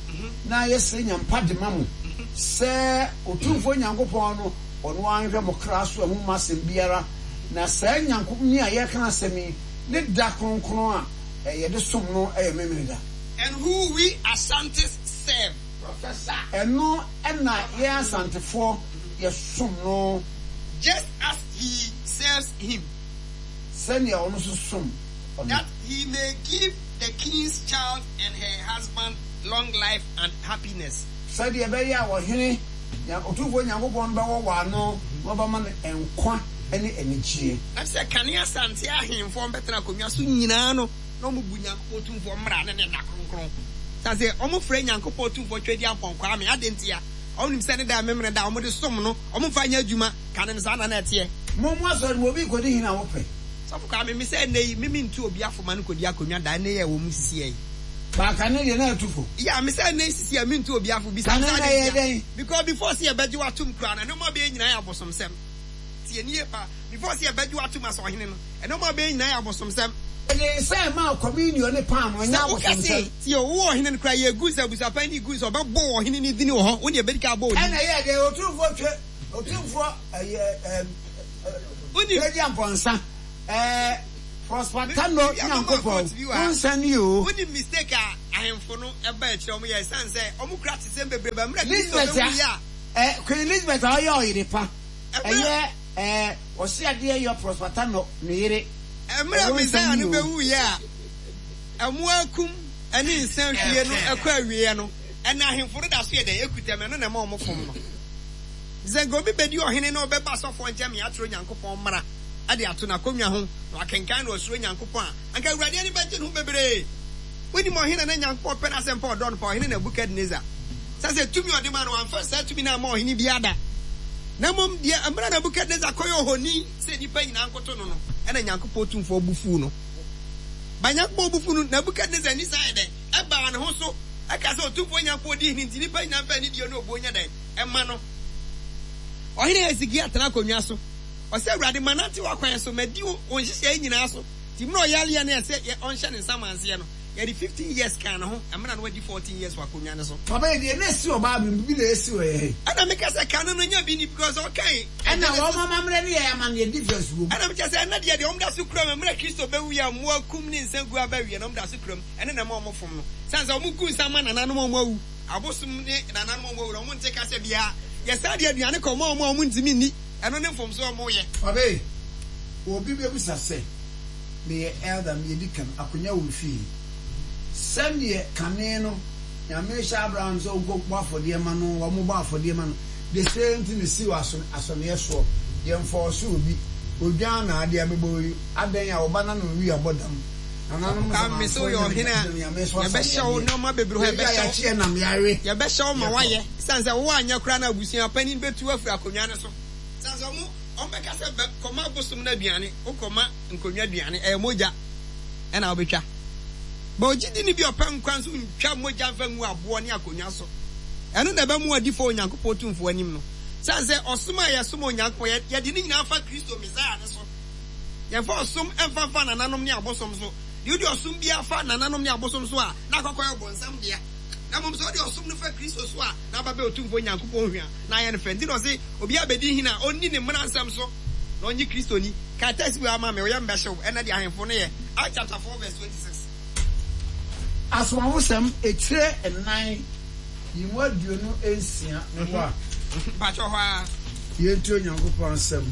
Speaker 1: na yɛsrɛ nyampa dema mo sɛ Otumfoɔ Nyankopɔn no ɔno ara nhwɛ mo kra so ɛho mma asɛm biara na saa Nyankopni a yɛreka n'asɛm yi ne da kronkron a yɛde som no yɛ Memeneda.
Speaker 5: And who we Ashantis serve. Professor.
Speaker 1: Ɛno na yɛn Asantefoɔ yɛsom no.
Speaker 5: Just as he serves him.
Speaker 1: Sɛdeɛ ɔno nso som ɔno.
Speaker 5: That he may give the king's child and her husband long life and happiness.
Speaker 1: Sɛdeɛ ɛbɛyɛ a ɔhene, Otumfoɔ Nyankopɔn no bɛwɔ wɔ ano na ɔbɛma no nkwa ne anigyeɛ.
Speaker 5: Na sɛ kane Asante ahemfoɔ mbɛtena akonnwa so nyinaa no, na wɔbu Nyankopɔn Tumfoɔ mmara ne ne nna kronkron. Sane sɛ wɔfrɛ Nyankopɔn Tumfoɔ Tweaduampɔn Kwame, adɛn ntia? Wɔnim sɛ ne da a Memeneda da a wɔde som no, wɔmfa nyɛ adwuma. Kane no, saa na na ɛteɛ.
Speaker 1: Mo mo asɔre mu obi rekɔdi hene a wopɛ?
Speaker 5: Sɔfo Kwame, me sɛ ɛnnɛ yi, me mentu obi afo ma no kɔdi akonnwa da, ɛnnɛ yi a ɛwɔ mu sisiɛ yi.
Speaker 1: Ba kane deɛ na atu fo.
Speaker 5: Yeah, me sɛ ɛnnɛ yi sisiɛ mentu obi afo, bisa
Speaker 1: Kane
Speaker 5: me sɛ
Speaker 1: na
Speaker 5: adɛn
Speaker 1: ɛyɛ
Speaker 5: ntia?
Speaker 1: dɛn?
Speaker 5: Because before sɛ yɛbɛgye wo atom koraa no, nneɛma bɛyɛ nyinaa yɛ abosomsɛm. Tie nie paa, before sɛ yɛbɛgye wo atom as ɔhene no, nneɛma bɛyɛ nyinaa yɛ abosomsɛm.
Speaker 1: Yɛde nsa ɛmaa communion ne paanoo, ɛnyɛ
Speaker 5: Sɛ woka se,
Speaker 1: abosomsɛm.
Speaker 5: tie o, wowɔ ɔhene no koraa, yɛgu nsa, abusuapanin no gu nsa, ɔbɛbɔ wɔ ɔhene no dini wɔ hɔ, wo ne yɛbɛdi kan abɔ wo din.
Speaker 1: Ɛna ɛyɛɛ dɛn? Otumfoɔ twe, Otumfoɔ ɛyɛ ɛɛ
Speaker 5: Wonim.
Speaker 1: Tweaduampɔnsa ɛɛ. Prosper Tano Nyankopɔn, wo nsa nie o.
Speaker 6: Wonim mistake a ahemfo no ɛba akyire a wɔyɛ ɛsiane sɛ wɔn kura atesɛm bebree ba mmerɛ Kristo
Speaker 1: Lisbeth
Speaker 6: bɛwuiɛ a.
Speaker 1: Eh, Queen Elizabeth a ɔyɛ ɔyere pa, ɛyɛ eh, ɔse adeɛ yɔ Prosper Tano ne yere.
Speaker 6: Mmerɛ
Speaker 1: Wo nsa
Speaker 6: Messiah
Speaker 1: nie
Speaker 6: no
Speaker 1: o.
Speaker 6: bɛwuiɛ a mmoa akum ne nsa hwie no kɔ awieɛ no, ɛna ahemfo no da so yɛ dɛn? Ɛkuta mu, ɛno na ɛma wɔfom no. Sɛ nka obi bɛdi ɔhene na ɔbɛba asɔfoɔ nkyɛn ma yɛatwerɛ Onyankopɔn mmara de ato n'akonnwa ho na wakenkan na wasuro Nyankopɔn a, anka Awurade ani bɛgye ne ho bebree. Wonim ɔhene a na Nyankopɔn pɛ n'asɛm pa ɔdɔ no paa, Ɔhene Nebukadnesar. Sɛ sɛ tumi a ɔde maa no, wamfa saa tumi no amma ɔhene biara da. Na mmom deɛ mmerɛ a Nebukadnesar kɔyɛ ohoni sɛ nnipa nyinaa nkoto no no, ɛna Nyankopɔn Tumfoɔ bo fuu no. Ba Nyankopɔn bo fuu no, Nebukadnesar ani san yɛ dɛn? Ɛbaa ne ho so, ɛkaa sɛ Otumfoɔ Nyankopɔn di hene nti nnipa nyinaa mfa anidie ne obuo nyɛ dɛn? Mma no. Ɔhene Hesekia tena akonnwa so. Ɔsɛ, Awurade, manante w'akwan so, madi wo nhyehyɛe nyinaa so. Nti mmerɛ ɔyareɛ no ɛsɛ yɛ ɔnhyɛ ne nsamanseɛ no, yɛde 15 years kaa ne ho, mmerɛ a na wadi 14 years wɔ akonnwa no so.
Speaker 1: Papa yi deɛ na esi wɔ bible mu bibi na esi wɔ yɛ he.
Speaker 6: Ɛna meka sɛ kane no nya bi ni because ɔkae
Speaker 1: Ɛna
Speaker 6: Genesis.
Speaker 1: wɔn amammerɛ ne yɛn amanneɛ difference wɔ mu.
Speaker 6: Ɛna mekyɛ sɛ ɛnɛ deɛ deɛ wɔn da so kura mu mmerɛ Kristo bɛwuiɛ a mmoa kum ne nsa gu aba awie no wɔn da so kura mu ɛno na ɛma wɔn fom no sane sɛ wɔn gu nsa ma nananom a wɔn awu abosom ne nananom a wɔn awu no wɔn nte kasa biara yɛ saa de aduane kɔ ma wɔn a wɔn ntumi nni ɛno ne mfomsoɔ a wɔn yɛ.
Speaker 1: Papa yi, obi bɛbisa sɛ, Meyɛ elder, meyɛ deacon, akonya wɔ me fie. Sɛdeɛ kane no Nyame hyɛ Abraham sɛ ɔnkɔ bɔ afɔdeɛ ma no, wɔn bɔ afɔdeɛ ma no, the same thing si wɔ asɔneɛ soɔ. Yɛnfɔɔse obi, odwan na adeɛ abɛbɔ yi, adɛn a ɔba no ano nwi abɔ dam. Nananom
Speaker 6: Ka me sɛ woyɛ
Speaker 1: nsamanfoɔ
Speaker 6: ɔhene a,
Speaker 1: Nyame so
Speaker 6: yɛbɛhyɛ wo
Speaker 1: asaneadeɛ.
Speaker 6: nneɛma bebree hɔ,
Speaker 1: Yɛwie a
Speaker 6: yɛbɛhyɛ wo,
Speaker 1: yɛakye yɛn nam yɛawe,
Speaker 6: yɛbɛhyɛ wo ma
Speaker 1: yɛkɔ.
Speaker 6: woayɛ. Esiane sɛ woanyɛ koraa no abusua panin bɛtu wo afiri akonnwa no so. Esiane sɛ wɔn, wɔbɛka sɛ, Bɛ, kɔma abosom no aduane, wokɔma nkonnwa aduane, ɛyɛ mogya na wobɛtwa. But ogyidini bi a ɔpɛ nkwa nso ntwa mogya mfa ngu aboɔ ne akonnwa so. Ɛno na ɛbɛma wadi fɔ Onyankopɔn Otumfoɔ anim no. Esiane sɛ ɔsom a yɛsom Onyankopɔn, yɛ, yɛde ne nyinaa fa Kristo Mesaia no so. Yɛmfa ɔsom mfa mfa nananom ne abosom so. Deɛ wode ɔsom biara fa nananom ne abosom so a, na akɔkɔyɛ ɔbonsam dea. Na mmom sɛ wode ɔsom no fa Kristo so a, na aba bɛyɛ Otumfoɔ Nyankopɔn hwa, na ayɛ no fɛ. Nti na ɔse, obiara bɛdi hene a, ɔnni ne mmara nsɛm so, na ɔnnye Kristo nni. Kae text bi wɔ ha ma me, wo yam bɛhye wo. Ɛnnɛ deɛ ahemfo no yɛ. Acts chapter 4 verse 26.
Speaker 1: Asomafosɛm etire nnan yi mu 26 meboa.
Speaker 6: Mpakyɛw hɔ ara.
Speaker 1: Yɛntie Onyankopɔn asɛm.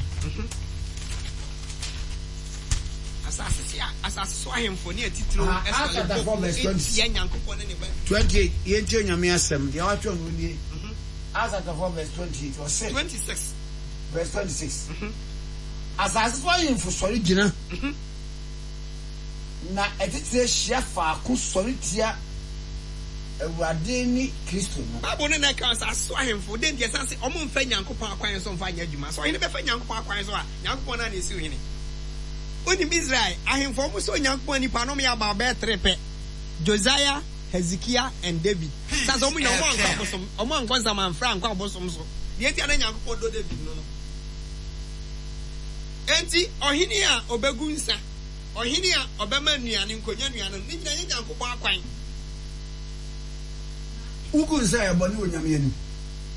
Speaker 6: Asase so asase so ahemfo ne atitiriw
Speaker 1: Acts
Speaker 6: sɔre
Speaker 1: chapter
Speaker 6: bɔ
Speaker 1: 4
Speaker 6: mu
Speaker 1: verse
Speaker 6: tia Nyankopɔn ne ne Ba Kristo.
Speaker 1: 28, Yɛntie Onyame asɛm. Deɛ watwerɛ no nie. Acts chapter 4 verse 28, ɔse.
Speaker 6: 26.
Speaker 1: Verse 26. Asase so ahemfo sɔre gyina, na atitire hyia faako sɔre tia Awurade ne Kristo no.
Speaker 6: Bible no na ɛka asase so ahemfo. Dɛn nti? Ɛsiane sɛ wɔmfa Nyankopɔn akwan so mfa nyɛ adwuma. Sɛ ɔhene bɛfa Nyankopɔn akwan so a, Nyankopɔn no ara na esiw hene. Wonim Israel ahemfo a wɔsɔ Onyankopɔn ani paa no, wɔyɛ about bɛyɛ tere pɛ, Josiah, Hezekiah, and David. Ɛsiane sɛ wɔn nyinaa wɔankɔ abosom, wɔankɔ nsamanfrɛ ankɔ abosom so. Deɛ enti a na Nyankopɔn dɔ David no no. Enti ɔhene a ɔbɛgu nsa, ɔhene a ɔbɛma nnuane, nkonya nnuane no, ne nyinaa nyɛ Nyankopɔn akwan.
Speaker 1: Wogu nsa a ɛyɛ bɔne wɔ Nyame anim.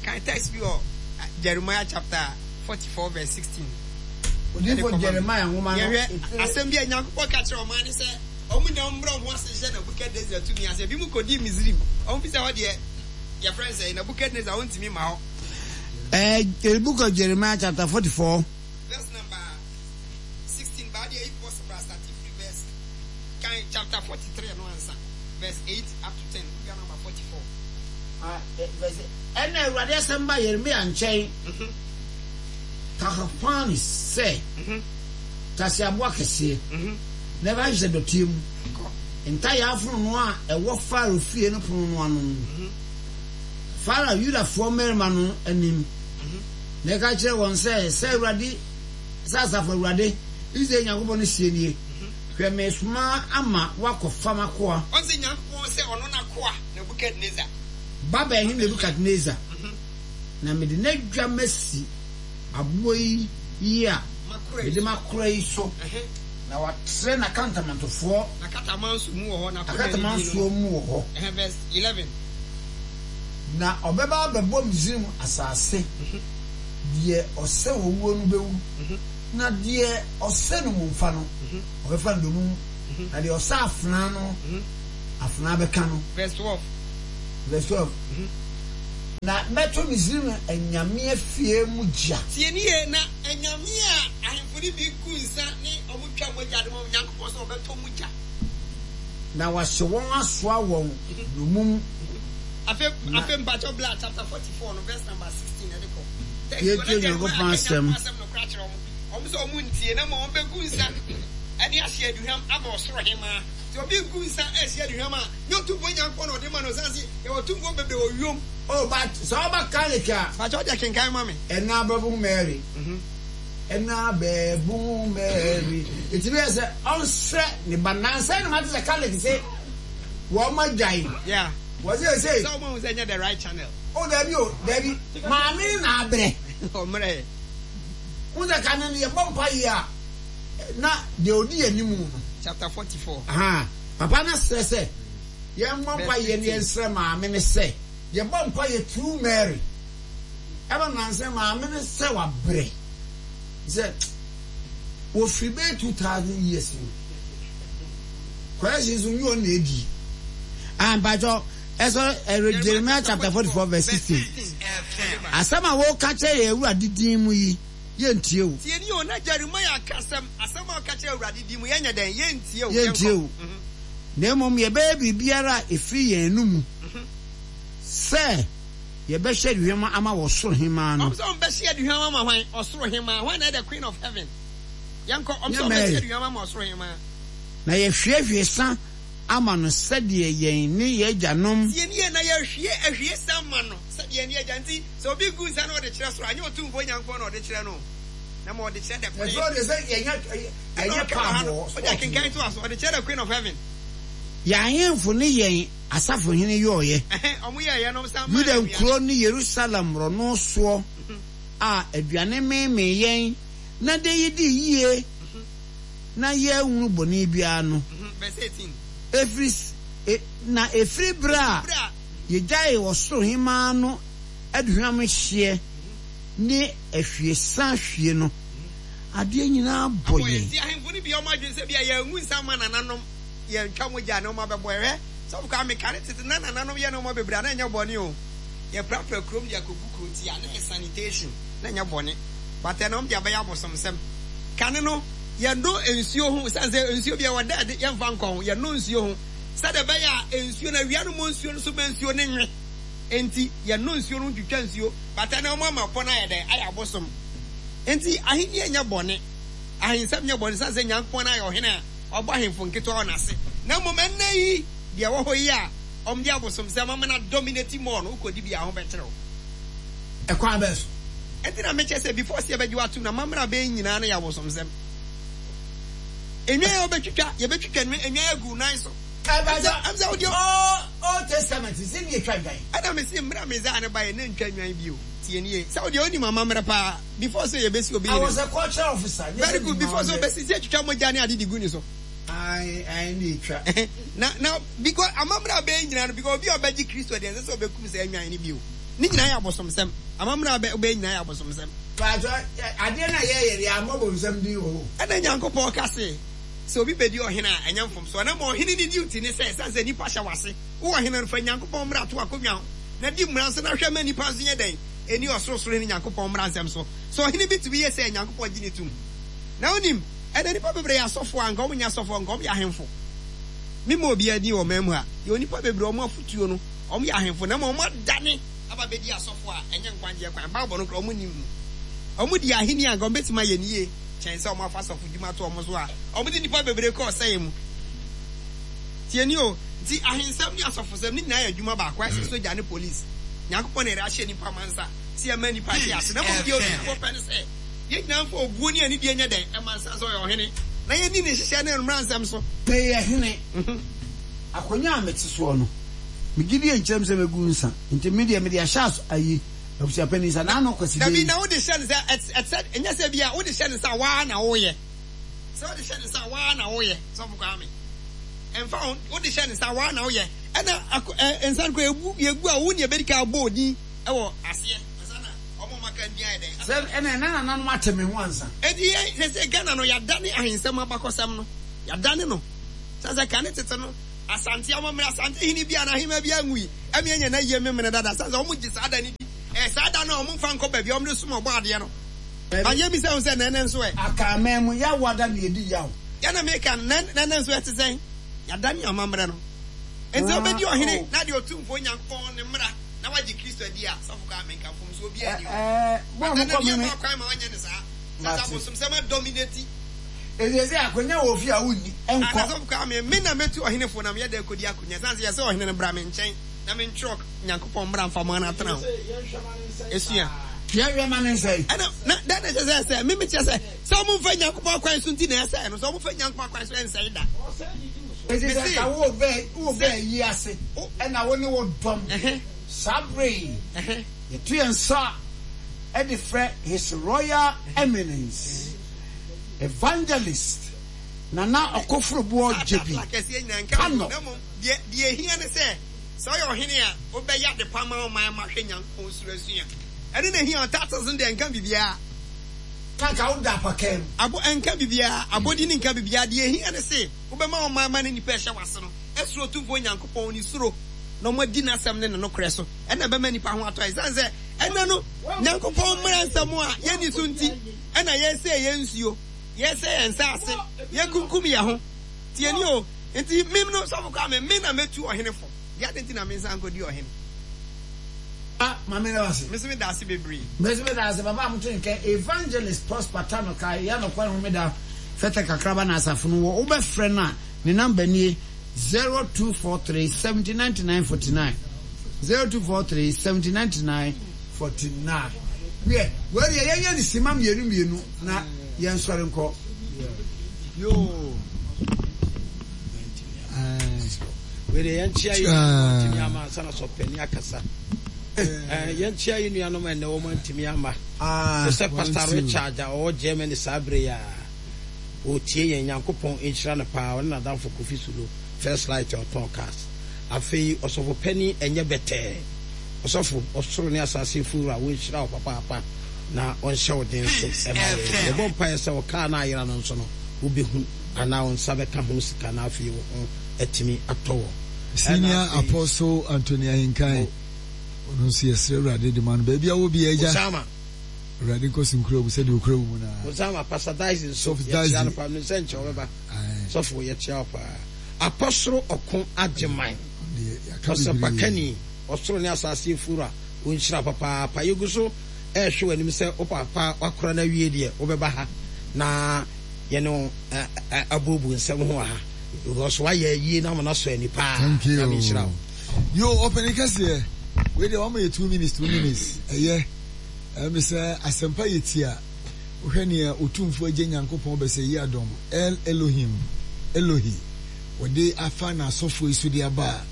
Speaker 6: Kan text bi wɔ Jeremiah chapter 44 verse 16.
Speaker 1: Odiyifo Jeremiah nwoma no
Speaker 6: Yɛhwɛ
Speaker 1: etire.
Speaker 6: asɛm bi a Nyankopɔn ka kyerɛ ɔman no sɛ wɔn nyinaa wɔmmrɛ wɔn ho ase nhyɛ Nebukadnesar tumi ase. Ebinom kɔdii Misraim. Wɔn fi sɛ hɔ deɛ yɛfrɛ no sɛ Nebukadnesar ɔntumi mma hɔ.
Speaker 1: Eh, book of Jeremiah chapter 44.
Speaker 6: Verse number 16 baa deɛ if possible a start firi verse kan chapter 43 no ansa verse 8 up to 10 wowia number 44.
Speaker 1: Ah, eh, verse ɛna Awurade asɛm ba Yeremia nkyɛn mhm. Tahapanes sɛ mhm. tase aboa kɛseɛ mhm. na ɛba hyehyɛ dɔteɛ mu ntayaa fononoo a ɛwɔ Farao fie no pono no ano no Farao Yudafoɔ mmarima no anim na ɛka kyerɛɛ wɔn sɛ, Sɛ Awurade, sɛ Asafo Awurade, Israel Nyankopɔn no seɛ nie, Hwɛ, meresoma ama woakɔfa m'akoa.
Speaker 6: Ɔse Nyankopɔn sɛ ɔno n'akoa Nebukadnesar.
Speaker 1: Babel hene Nebukadnesar, na mede n'adwa masi aboɔ yi a mede makora yi so, na watrɛ n'akantamantofoɔ.
Speaker 6: N'akatamanso mu wɔ hɔ,
Speaker 1: n'akatamansoɔ mu wɔ hɔ.
Speaker 6: Verse 11.
Speaker 1: Na ɔbɛba abɛbɔ Misraim asase, deɛ ɔsɛ owuo no bɛwu. Na deɛ ɔsɛ nnommumfa no, ɔbɛfa no dommum, na deɛ ɔsɛ afenaa no, afenaa bɛka no.
Speaker 6: Verse 12.
Speaker 1: Verse 12. Na mɛto Misraim anyame afie mu gya.
Speaker 6: Tie nie, na anyame a ahemfo no bi gu nsa ne wɔn twa mogya de ma wɔn, Nyankopɔn sɛ ɔbɛtɔ mu gya.
Speaker 1: Na wahye wɔn asoa wɔn nnommum.
Speaker 6: Afei, afei mpakyɛw bla chapter 44 no verse number 16 ɛde kɔ.
Speaker 1: Yɛntie Onyankopɔn asɛm.
Speaker 6: Asɛm no kora kyerɛ wɔn. Wɔn sɛ wɔn ntie na mmom wɔn bɛgu nsa ɛde ahye aduhwam ama ɔsoro hemaa. Sɛ obi gu nsa ɛhye aduhwam a, nyɛ Otumfoɔ Nyankopɔn na ɔde ma no, ɔsan se yɛwɔ atumfoɔ bebree wɔ wiem.
Speaker 1: Oh but sɛ ɔba Catholic a.
Speaker 6: Mpakyɛw deɛ kenkan ma me.
Speaker 1: Ɛna bɛbu Mary. Ɛna bɛbu Mary. Eti bɛyɛ sɛ ɔnsrɛ ne ba. Nansa yi na mate sɛ Catholic se wɔn agyae.
Speaker 6: Yeah.
Speaker 1: Wɔse seesei.
Speaker 6: Sɛ wɔn ahu sɛ ɛnyɛ the right channel.
Speaker 1: Oh dabi o dabi. Maame no na abrɛ.
Speaker 6: Ɔmmerɛ.
Speaker 1: Wohu sɛ kane no yɛbɔ mpaeɛ a na deɛ ɔdi yɛn anim no.
Speaker 6: Chapter 44.
Speaker 1: Ahaa. Papa no srɛ sɛ yɛmmɔ mpaeɛ na yɛnsrɛ maame no sɛ yɛbɔ mpaeɛ through Mary. Ɛma nansa maame no sɛ wabrɛ sɛ wɔfiri bɛyɛ 2000 years no correction nso nyɛ ɔno na ɛdi. Ah, mpakyɛ ɛsɔ ɛrɛ Jeremiah chapter 44 verse 16. Asɛm a wɔka kyerɛ yɛn Awurade din mu yi, yɛntie o.
Speaker 6: Tie nie o, na Jeremiah ka asɛm, asɛm a ɔka kyerɛ Awurade din mu, yɛnyɛ dɛn? Yɛntie o,
Speaker 1: Yɛntie
Speaker 6: yɛnkɔ.
Speaker 1: o. Na mmom yɛbɛyɛ biribiara a ɛfiri yɛn anomu sɛ yɛbɛhyɛ aduhwam ama wɔ soro hemmaa no.
Speaker 6: Wɔn sɛ wɔbɛhye aduhwam ama hwan? Ɔsoro hemmaa. Hwan na ɛyɛ the queen of heaven? Yɛnkɔ. Wɔn sɛ
Speaker 1: Nyɛ
Speaker 6: wɔbɛhye
Speaker 1: Mary.
Speaker 6: aduhwam ama ɔsoro hemmaa.
Speaker 1: Na yɛhwiehwie sa ama no sɛdeɛ yɛn ne yɛn agyanom.
Speaker 6: Tie nie, na yɛhwie ahwiesa ma no sɛdeɛ yɛn ne yɛn agya. Nti sɛ obi gu nsa na ɔde kyerɛ soro a, ɛnyɛ Otumfoɔ Nyankopɔn na ɔde kyerɛ no o, na mmom ɔde kyerɛ the queen.
Speaker 1: Ɛsoro deɛ sɛ yɛnyɛ
Speaker 6: Ɛna
Speaker 1: yɛnyɛ
Speaker 6: ɔka wɔ ha
Speaker 1: pub
Speaker 6: no,
Speaker 1: wɔ
Speaker 6: wode
Speaker 1: sport
Speaker 6: akenkan
Speaker 1: no.
Speaker 6: to aso, ɔde kyerɛ the queen of heaven.
Speaker 1: Yɛn ahemfo ne yɛn asafohene yɔeɛ.
Speaker 6: Ɛhɛn, wɔn yɛeɛ no, wɔsan maa
Speaker 1: Yuda
Speaker 6: no aduane.
Speaker 1: nkuro ne Yerusalem mmorɔno soɔ a aduane meemee yɛn na de yedii yie na yɛanhunu bɔne biara no.
Speaker 6: Verse 18.
Speaker 1: Ɛfiri s e na ɛfiri berɛ a
Speaker 6: Ɛfiri berɛ a.
Speaker 1: yɛgyaee ɔsoro hemmaa no aduhwam hyeɛ ne ahwiesa hwie no, adeɛ nyinaa bɔ
Speaker 6: Abɔ yɛn.
Speaker 1: yɛn.
Speaker 6: Nti ahemfo no bi wɔn adwene sɛ ebia yɛangu nsa amma nananom, yɛantwa mogya a na wɔabɛbɔ yɛn. Hwɛ, sɔfo Kwame, kane tete na nananom yɛ nneɛma bebree a na ɛnyɛ bɔne o. Yɛprapra kurom de akɔgu kuro ti a, na ɛyɛ sanitation, na ɛnyɛ bɔne. But ɛnnɛ wɔde abɛyɛ abosomsɛm. Kane no, yɛnnɔ nsuo ho, ɛsiane sɛ nsuo bi ɛwɔ dɛ de, yɛmfa nkɔ ho, yɛnnɔ nsuo ho sɛdeɛ ɛbɛyɛ a nsuo no, awia no mmɔ nsuo no so ma nsuo no nwe. Enti yɛnnɔ nsuo no ho ntwitwa nsuo, but ɛnnɛ wɔama pɔ no ayɛ dɛn? Ayɛ abosom. Enti ahennie nyɛ bɔne, ahensɛm nyɛ bɔne, ɛsiane sɛ Nyankopɔn ayɛ ɔhene a wabɔ ahemfo nketewa wɔ n'ase. Na mmom ɛnnɛ yi, deɛ ɛwɔ hɔ yi a wɔde abosomsɛm ama no adominate more no, wokɔdi bi a, ho bɛkyere wo.
Speaker 1: Ɛkwan bɛn so?
Speaker 6: Ɛnti na mekyɛ sɛ before sɛ yɛbɛgye wo atom no amammerɛ a bɛyɛ nyinaa no yɛ abosomsɛm. Nnwan a wobɛtwitwa, yɛbɛtwitwa nnwan agu wo nan so.
Speaker 1: Ɛbɛsɛ
Speaker 6: Ɛm sɛ wodeɛ.
Speaker 1: Old Testament sɛ ne yɛtwa nnwan.
Speaker 6: Ɛna mese mmerɛ a Messiah no baeɛ na ntwa nnwan bio. Tie nie. Sɛ wodeɛ wonim amammerɛ paa before sɛ yɛbɛsi obi
Speaker 1: I
Speaker 6: hene
Speaker 1: was
Speaker 6: no.
Speaker 1: a cultural officer. Nyɛ
Speaker 6: Very
Speaker 1: sɛ
Speaker 6: good
Speaker 1: menim
Speaker 6: before sɛ
Speaker 1: amammerɛ.
Speaker 6: wobɛsi sɛ yɛtwitwa mogya ne ade de gu ne so.
Speaker 1: Ae ae ne yɛtwa.
Speaker 6: Na na because amammerɛ a bɛyɛ nyinaa no because obi a ɔbɛgye Kristo deɛ ɛnsɛ sɛ ɔbɛkum saa nnwan no bio. Ne nyinaa yɛ abosomsɛm. Amammerɛ a wobɛyɛ nyinaa yɛ abosomsɛm.
Speaker 1: Paatwɔ, adeɛ no a yɛyɛ no, yɛammɔ bonsam din wɔ hɔ o.
Speaker 6: Ɛna Nyankopɔn ka se, Sɛ obi bedi ɔhene a, ɛnyɛ mfomsoɔ. Na mmom ɔhene ne duty ne sɛ, ɛsiane sɛ nnipa hyɛ w'ase, wo ɔhene no, fa Nyankopɔn mmara to w'akonnwa ho, na di mmara nso, na hwɛ ma nnipa nso nyɛ dɛn? Nni Ɔsorosoroni Nyankopɔn mmara nsɛm so. Sɛ ɔhene bi tumi yɛ sei a, Nyankopɔn gye no tom. Na wonim, ɛnnɛ nnipa bebree yɛ asɔfoɔ a, anka wɔnyɛ asɔfoɔ, anka wɔyɛ ahemfo. Memmɔ obiara din wɔ ɔman mu ha. Yɛwɔ nnipa bebree a wɔn afotuo no, Wɔyɛ ahemfo na mmom wɔadane aba abɛdi asɔfo a ɛnyɛ nkwagyeɛ kwan. Bible no koraa wɔnnim mu. Wɔdi ahenni a anka wɔbɛtumi ayɛ no yie kyɛn sɛ wɔafa asɔfodwuma ato wɔn so a wɔde nnipa bebree kɔ ɔsɛeɛ mu. Tie nie o, nti ahensɛm ne asɔfosɛm ne nyinaa yɛ adwuma baako, ayɛ sɛ sogya ne police. Nyankopɔn na yɛde ahyɛ nnipa ma nsa sɛ yɛmma nnipa nte ase na mmom deɛ Otumfoɔ pɛ ne sɛ yɛn nyinaa mfa obuo ne anidie nyɛ dɛn? Ɛma nsa sɛ ɔyɛ ɔhene na yɛnni ne nhyehyɛɛ ne ne mmaransɛm so.
Speaker 1: Meyɛ hene. Akonnwa a mete soɔ no, me gyidie nkyerɛ me sɛ mɛgu nsa, nti me deɛ mede ahyɛ aso ayi abusuapanin nsa, n'ano Kwasida
Speaker 6: Dabi,
Speaker 1: yi.
Speaker 6: na wode hyɛ no sɛ, ɛte, ɛte sɛ, ɛnyɛ sɛ bi a wode hyɛ no nsa a, woara na woyɛ. Sɛ wode hyɛ no nsa a, woara na woyɛ, Sɔfo Kwame. Ɛmfa ho, wode hyɛ no nsa a, woara na woyɛ. Ɛna ako, ɛ, nsa no koraa, yɛgu, yɛgu a, wo na yɛbɛdi kan abɔ wo din wɔ aseɛ, ansa na wɔn a wɔaka. no din ayɛ dɛn?
Speaker 1: Sɛ ɛnɛ na nananom ate me ho ansa.
Speaker 6: Enti yɛn sɛsɛ Ghana no yɛadane ahensɛm abakɔsɛm no yɛadane no sɛ sɛ kane tete no Asante amammerɛ Asante hene bi anaa ahemmaa bi anwui ɛme anya n'ayie memene dada sɛ sɛ wɔn gye saa da no di ɛyɛ saa da no a wɔn mfa nkɔ baabi a wɔn de som ɔbɔ adeɛ no ba yɛ bisa ho sɛ nɛnɛ nso ɛ.
Speaker 1: Akanman mu yaw ada na yɛdi yaw.
Speaker 6: Yɛ na meka no nɛnɛ nso ɛte sɛn yɛadane amammerɛ no enti sɛ wobɛdi ɔhene na deɛ Otumfoɔ Nyankopɔn ne mmara na wagye Kristo adi a, sɔfo koraa menka mfomsoɔ biara nni hɔ.
Speaker 1: But
Speaker 6: ɛnɛ no yɛmma kwan ma ɔnyɛ no saa. Sɛ sɛ abosomsɛm adominate.
Speaker 1: Enti sɛ akonya wɔ fie a wonni, nkɔ.
Speaker 6: Ana sɔfo koraa me, me na mɛtu ɔhene fo na meyɛ dɛn kɔdi akonya? Ɛsiane sɛ yɛsɛ ɔhene no bra me nkyɛn na mentwerɛ Nyankopɔn mmara mfa mo atena ho. Esua.
Speaker 1: Yɛnhwɛ ma no nsɛe.
Speaker 6: Ɛna na dɛn na ɛkyerɛ sɛ ɛsɛe? Me mekyerɛ sɛ, sɛ wɔmfa Nyankopɔn akwan so nti na ɛsɛe no. Sɛ wɔfa Nyankopɔn akwan so a ɛnsɛe da.
Speaker 1: Enti sɛ nka woreba ayi ase na wo ne wo dɔm saa bere yi, yɛto yɛn nsa de frɛ His Royal Eminence Evangelist Nana Ɔkoforoboɔ Gyebi Tanɔ.
Speaker 6: Na mmom deɛ ɛhia ne sɛ, sɛ woyɛ ɔhene a, wobɛyɛ adepa ama wo man ma ahwɛ Nyankopɔn suro asua. Ɛno na ɛhia. Titles no deɛ ɛnka biribiara.
Speaker 1: Na anka woda apakaa mu.
Speaker 6: Abo ɛnka biribiara, abodin nka biribiara, deɛ ɛhia ne se wobɛma wo man ma ne nnipa a ɛhyɛ w'ase no asuro Otumfoɔ Nyankopɔn ne suro na wɔadi n'asɛm ne ne nokorɛ so, ɛna ɛbɛma nnipa ho atɔ yɛn. Ɛsiane sɛ ɛnnɛ no Nyankopɔn mmara nsɛm a yɛnni so nti na yɛresɛe yɛn nsuo, yɛresɛe yɛn nsaase, yɛrekunkum yɛn ho. Tie nie o, nti me no Sɔfo Kwame, me na mɛtu ɔhene fo, deɛ adɛn nti na mensan nkɔdi ɔhene?
Speaker 1: Ah, Maame meda wo ase.
Speaker 6: Me nso meda ase bebree.
Speaker 1: Me nso meda ase papa a moto nka Evangelist Prosper Tano kae yɛ nokware homeda fɛtɛ kakraba na asafo no wɔ wobɛfrɛ no a ne number nie 0243 70 99 49 0243 70 99 49 Wiɛ wei deɛ yɛnyɛ no sima mmienu mmienu na yɛnsɔre nkɔ.
Speaker 2: Yoo. Wei deɛ yɛnkyea yɛn nuanom antumi ama ansa na sɔpani akasa. Yɛnkyea yɛn nuanom ɛnnɛ wɔn antumi ama. Te sɛ Pastor Richard a ɔwɔ Germany saa bere yi a ɔretie yɛn. Nyankopɔn nhyira no paa. Ɔne n'adamfo Kofi Sulu, First Light a ɔtɔn cars. Afei ɔsɔfo panin ɛnyɛ bɛtɛɛ. Ɔsɔfo, ɔsoro ne asase mfo wura, wɔnhyira wo papaapa na ɔnhyɛ wo den so ɛma yɛn. Yɛbɔ mpaeɛ sɛ ɔkaa no a ayera no nso no, wobɛhu anaa wo nsa bɛka ho sika na afei wo ho atumi atɔ wɔ.
Speaker 4: Senior Apostle Anthony Ahenkan, ɔno nso yɛsrɛ Awurade de ma no baabi a ɔwɔ biara agya.
Speaker 2: Osama.
Speaker 4: Awurade nkɔ so nkura mu sɛdeɛ ɔkura wo mu no ara.
Speaker 2: Osama, Pastor Dyson nso,
Speaker 4: Sɔfo
Speaker 2: yɛkyea no
Speaker 4: Dyson.
Speaker 2: paa, menim sɛ nkyɛ ɔbɛba.
Speaker 4: Ae.
Speaker 2: Sɔfo, yɛkyea wo paa. Apɔsoro Ɔko Agyeman,
Speaker 4: Ɔno deɛ yɛaka bebree.
Speaker 2: Ɔsɛmpakani, ɔsoro ne asase Wura, ɔnhyira wo papaapa. Yɛgu so rehwɛ w'anim sɛ wo papa wakora no awie deɛ, wobɛba ha na yɛne wo abuobuo nsɛm ho wɔ ha because wayɛ ayie no ama no asɔ ani paa.
Speaker 4: Thank you.
Speaker 2: Nyame nhyira wo.
Speaker 4: Yo, ɔpɛni kɛseɛ. Wei deɛ wama yɛ 2 minutes, 2 minutes. Ɛyɛ. Ɛmi sɛ asɛmpa yɛ tia. Wohwɛ nea Otumfoɔ Agya Nyankopɔn bɛsɛ yi adɔm, El Elohim, Elohi, wɔde afa n'asɔfoɔ yi so de aba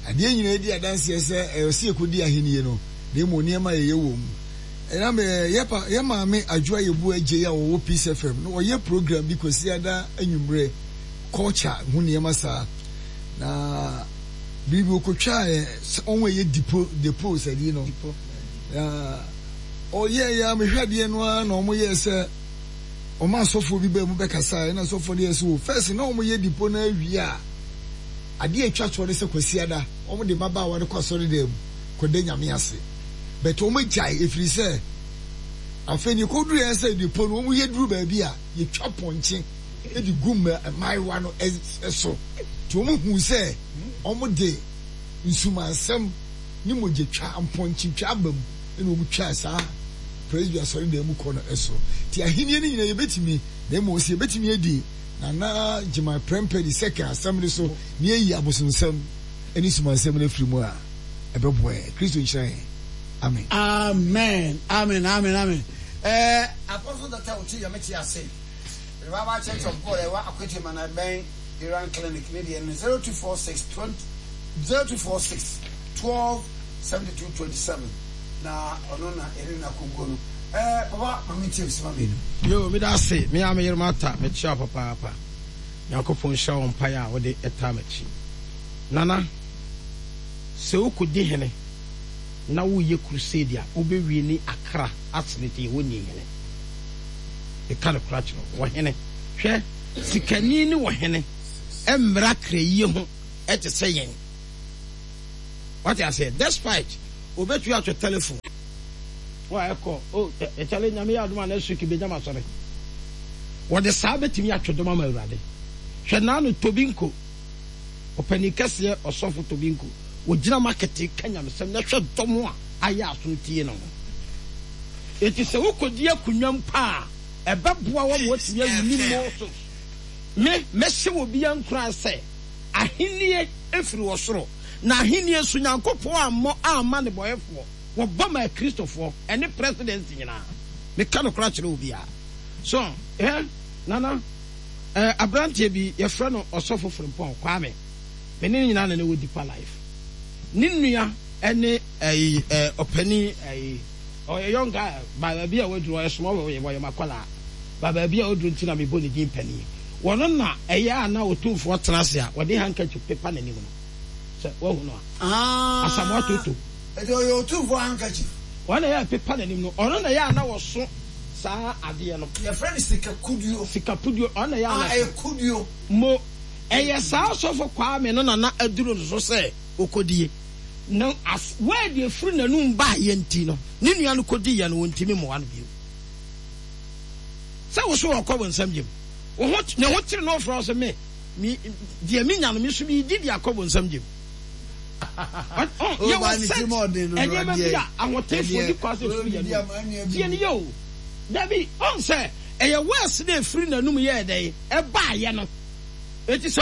Speaker 4: a, adeɛ nyinaa di adanseɛ sɛ ɛyɛ sɛ yɛkɔdi ahennie no, na mmom nneɛma a yɛyɛ wɔ mu. Ɛnam yɛ pa yɛ maame Adwoa Yeboah Adjei a ɔwɔ Peace FM no ɔyɛ program bi Kwasiada anwummerɛ culture ho nneɛma saa na biribi ɔkɔtwaa yɛ sɛ wɔn a ɛyɛ dipo depo sɛdeɛ no na ɔyɛɛ yɛ a mehwɛ adeɛ no ara na wɔn yɛɛ sɛ wɔn asɔfoɔ bi baa mu bɛkasa ɛna asɔfoɔ no yɛ sɛ o first na wɔn yɛ dipo no awie a adeɛ atwa toɔ no sɛ Kwasiada wɔn de mmabaawa no kɔ asɔredan mu kɔda Nyame ase. But wɔn agyae ɛfiri sɛ afei deɛ ɛkɔduru yɛn sɛ depo no wɔn yɛ duru baabi a yɛtwa pɔnkye de gu mmaayewa no so nti wɔn huu sɛ wɔn de nsumansɛm ne mogyatwa mpɔnkyetwa aba mu ɛna wɔn twaa saa Presby asɔredan mu kɔ no so nti ahenni no nyinaa yɛbɛtumi na mmom sɛ yɛbɛtumi adi Nana Gyimah Prempeh the second asɛm no so na yɛayi abosonsɛm ne nsumansɛm no afiri mu a ɛbɛboa yɛn. Kristo nhyira yɛn. Amen.
Speaker 1: Amen amen amen amen eh Apostle Doctor Otse Nyame te ase Revival Church of God ɛwɔ Akwete Mana ɛbɛn Iran Clinic ne deɛ no 0246 20 0246 12 72 27 na ɔno na yɛne no akɔguo no eh papa ma mentie wo sima mmienu.
Speaker 2: Yoo meda ase me ara me yere Martha mekyea wo papaapa Nyankopɔn nhyira wo mpaeɛ a wode taa makyi Nana. Sɛ wokɔdi hene na woreyɛ crusade a, wobɛwie ne akra asene te yɛwɔ ni hene. Meka nokora kyerɛ wo, ɔhene. Hwɛ, sikani ne ɔhene mmra krayie ho te sɛ yɛn. Wate aseɛ? Despite, obɛtumi atwɛ telephone. Wa ɛkɔ, oh, ɛkyale Nyame yɛ adom a next week bɛnya m'asɔre. Wɔde saa bɛtumi atwe dɔm ama Awurade. Hwɛ naano Tobinko, ɔpanin kɛseɛ ɔsɔfo Tobinko, ɔgyina market ka nyamesɛm na hwɛ dɔm a ayɛ aso tie no ho. Enti sɛ wokɔdi akonnwa mpo a, ɛbɛboa wo ama woatumi awini more souls. Me, mɛhyɛ obiara nkuran sɛ, ahennie firi ɔsoro, na ahennie nso Nyankopɔn ammɔ amma nnebɔyɛfoɔ, wɔbɔ maa Kristofoɔ, ɛne presidency nyinaa. Meka nokorɛ akyerɛ obiara. So, hwɛ, Nana, eh, aberanteɛ bi, yɛfrɛ no Ɔsɔfo Frimpong Kwame, me ne no nyinaa na na ɛwɔ Deeper Life. Ne nua ne ɛyi, eh, ɔpanin, ɛyi, ɔyɛ young guy, ba baabi a waduru, ɔyɛ small boy, ɔyɛ m'akwadaa, ba baabi a waduru nti na mebɔ ne din panin. Wɔno na ɛyɛ a na Otumfoɔ tena ase a, wɔde handkerchief pepa n'anim no. Sɛ woahu no a.
Speaker 1: Ah.
Speaker 2: Asamoah Toto.
Speaker 1: Ɛti ɔyɛ Otumfoɔ handkerchief.
Speaker 2: Wɔn na ɛyɛ a ɛpepa n'anim no, ɔno na ɛyɛ a na wɔso saa adeɛ no.
Speaker 1: Yɛfrɛ no sika kuduo.
Speaker 2: Sika puduo, ɔno na ɛyɛ a na.
Speaker 1: Ah, ɛyɛ kuduo.
Speaker 2: Mo, ɛyɛ saa ɔsɔfo Kwame no na na aduru no so sɛ ɔkɔdie. Na as, word a ɛfiri n'anum baeɛ nti no, ne nua no kɔdiiɛ no, wɔntumi mmoa no bio. Sɛ wo so ɔkɔ wo nsam gyem. Wo ho, ne ho kyere no ɔfrɛ wo sɛ me, me, deɛ menya no, me nso meredi de akɔ wo nsam gyem. Yɛwɔ sɛ nneɛma bi a ahotefoɔ di kwa sɛ ɛfiri yɛn anum. Tie no yie o. Dabi, ɔn sɛ ɛyɛ words na ɛfiri n'anum yɛɛ dɛn? Ɛbaeɛ no. Enti sɛ.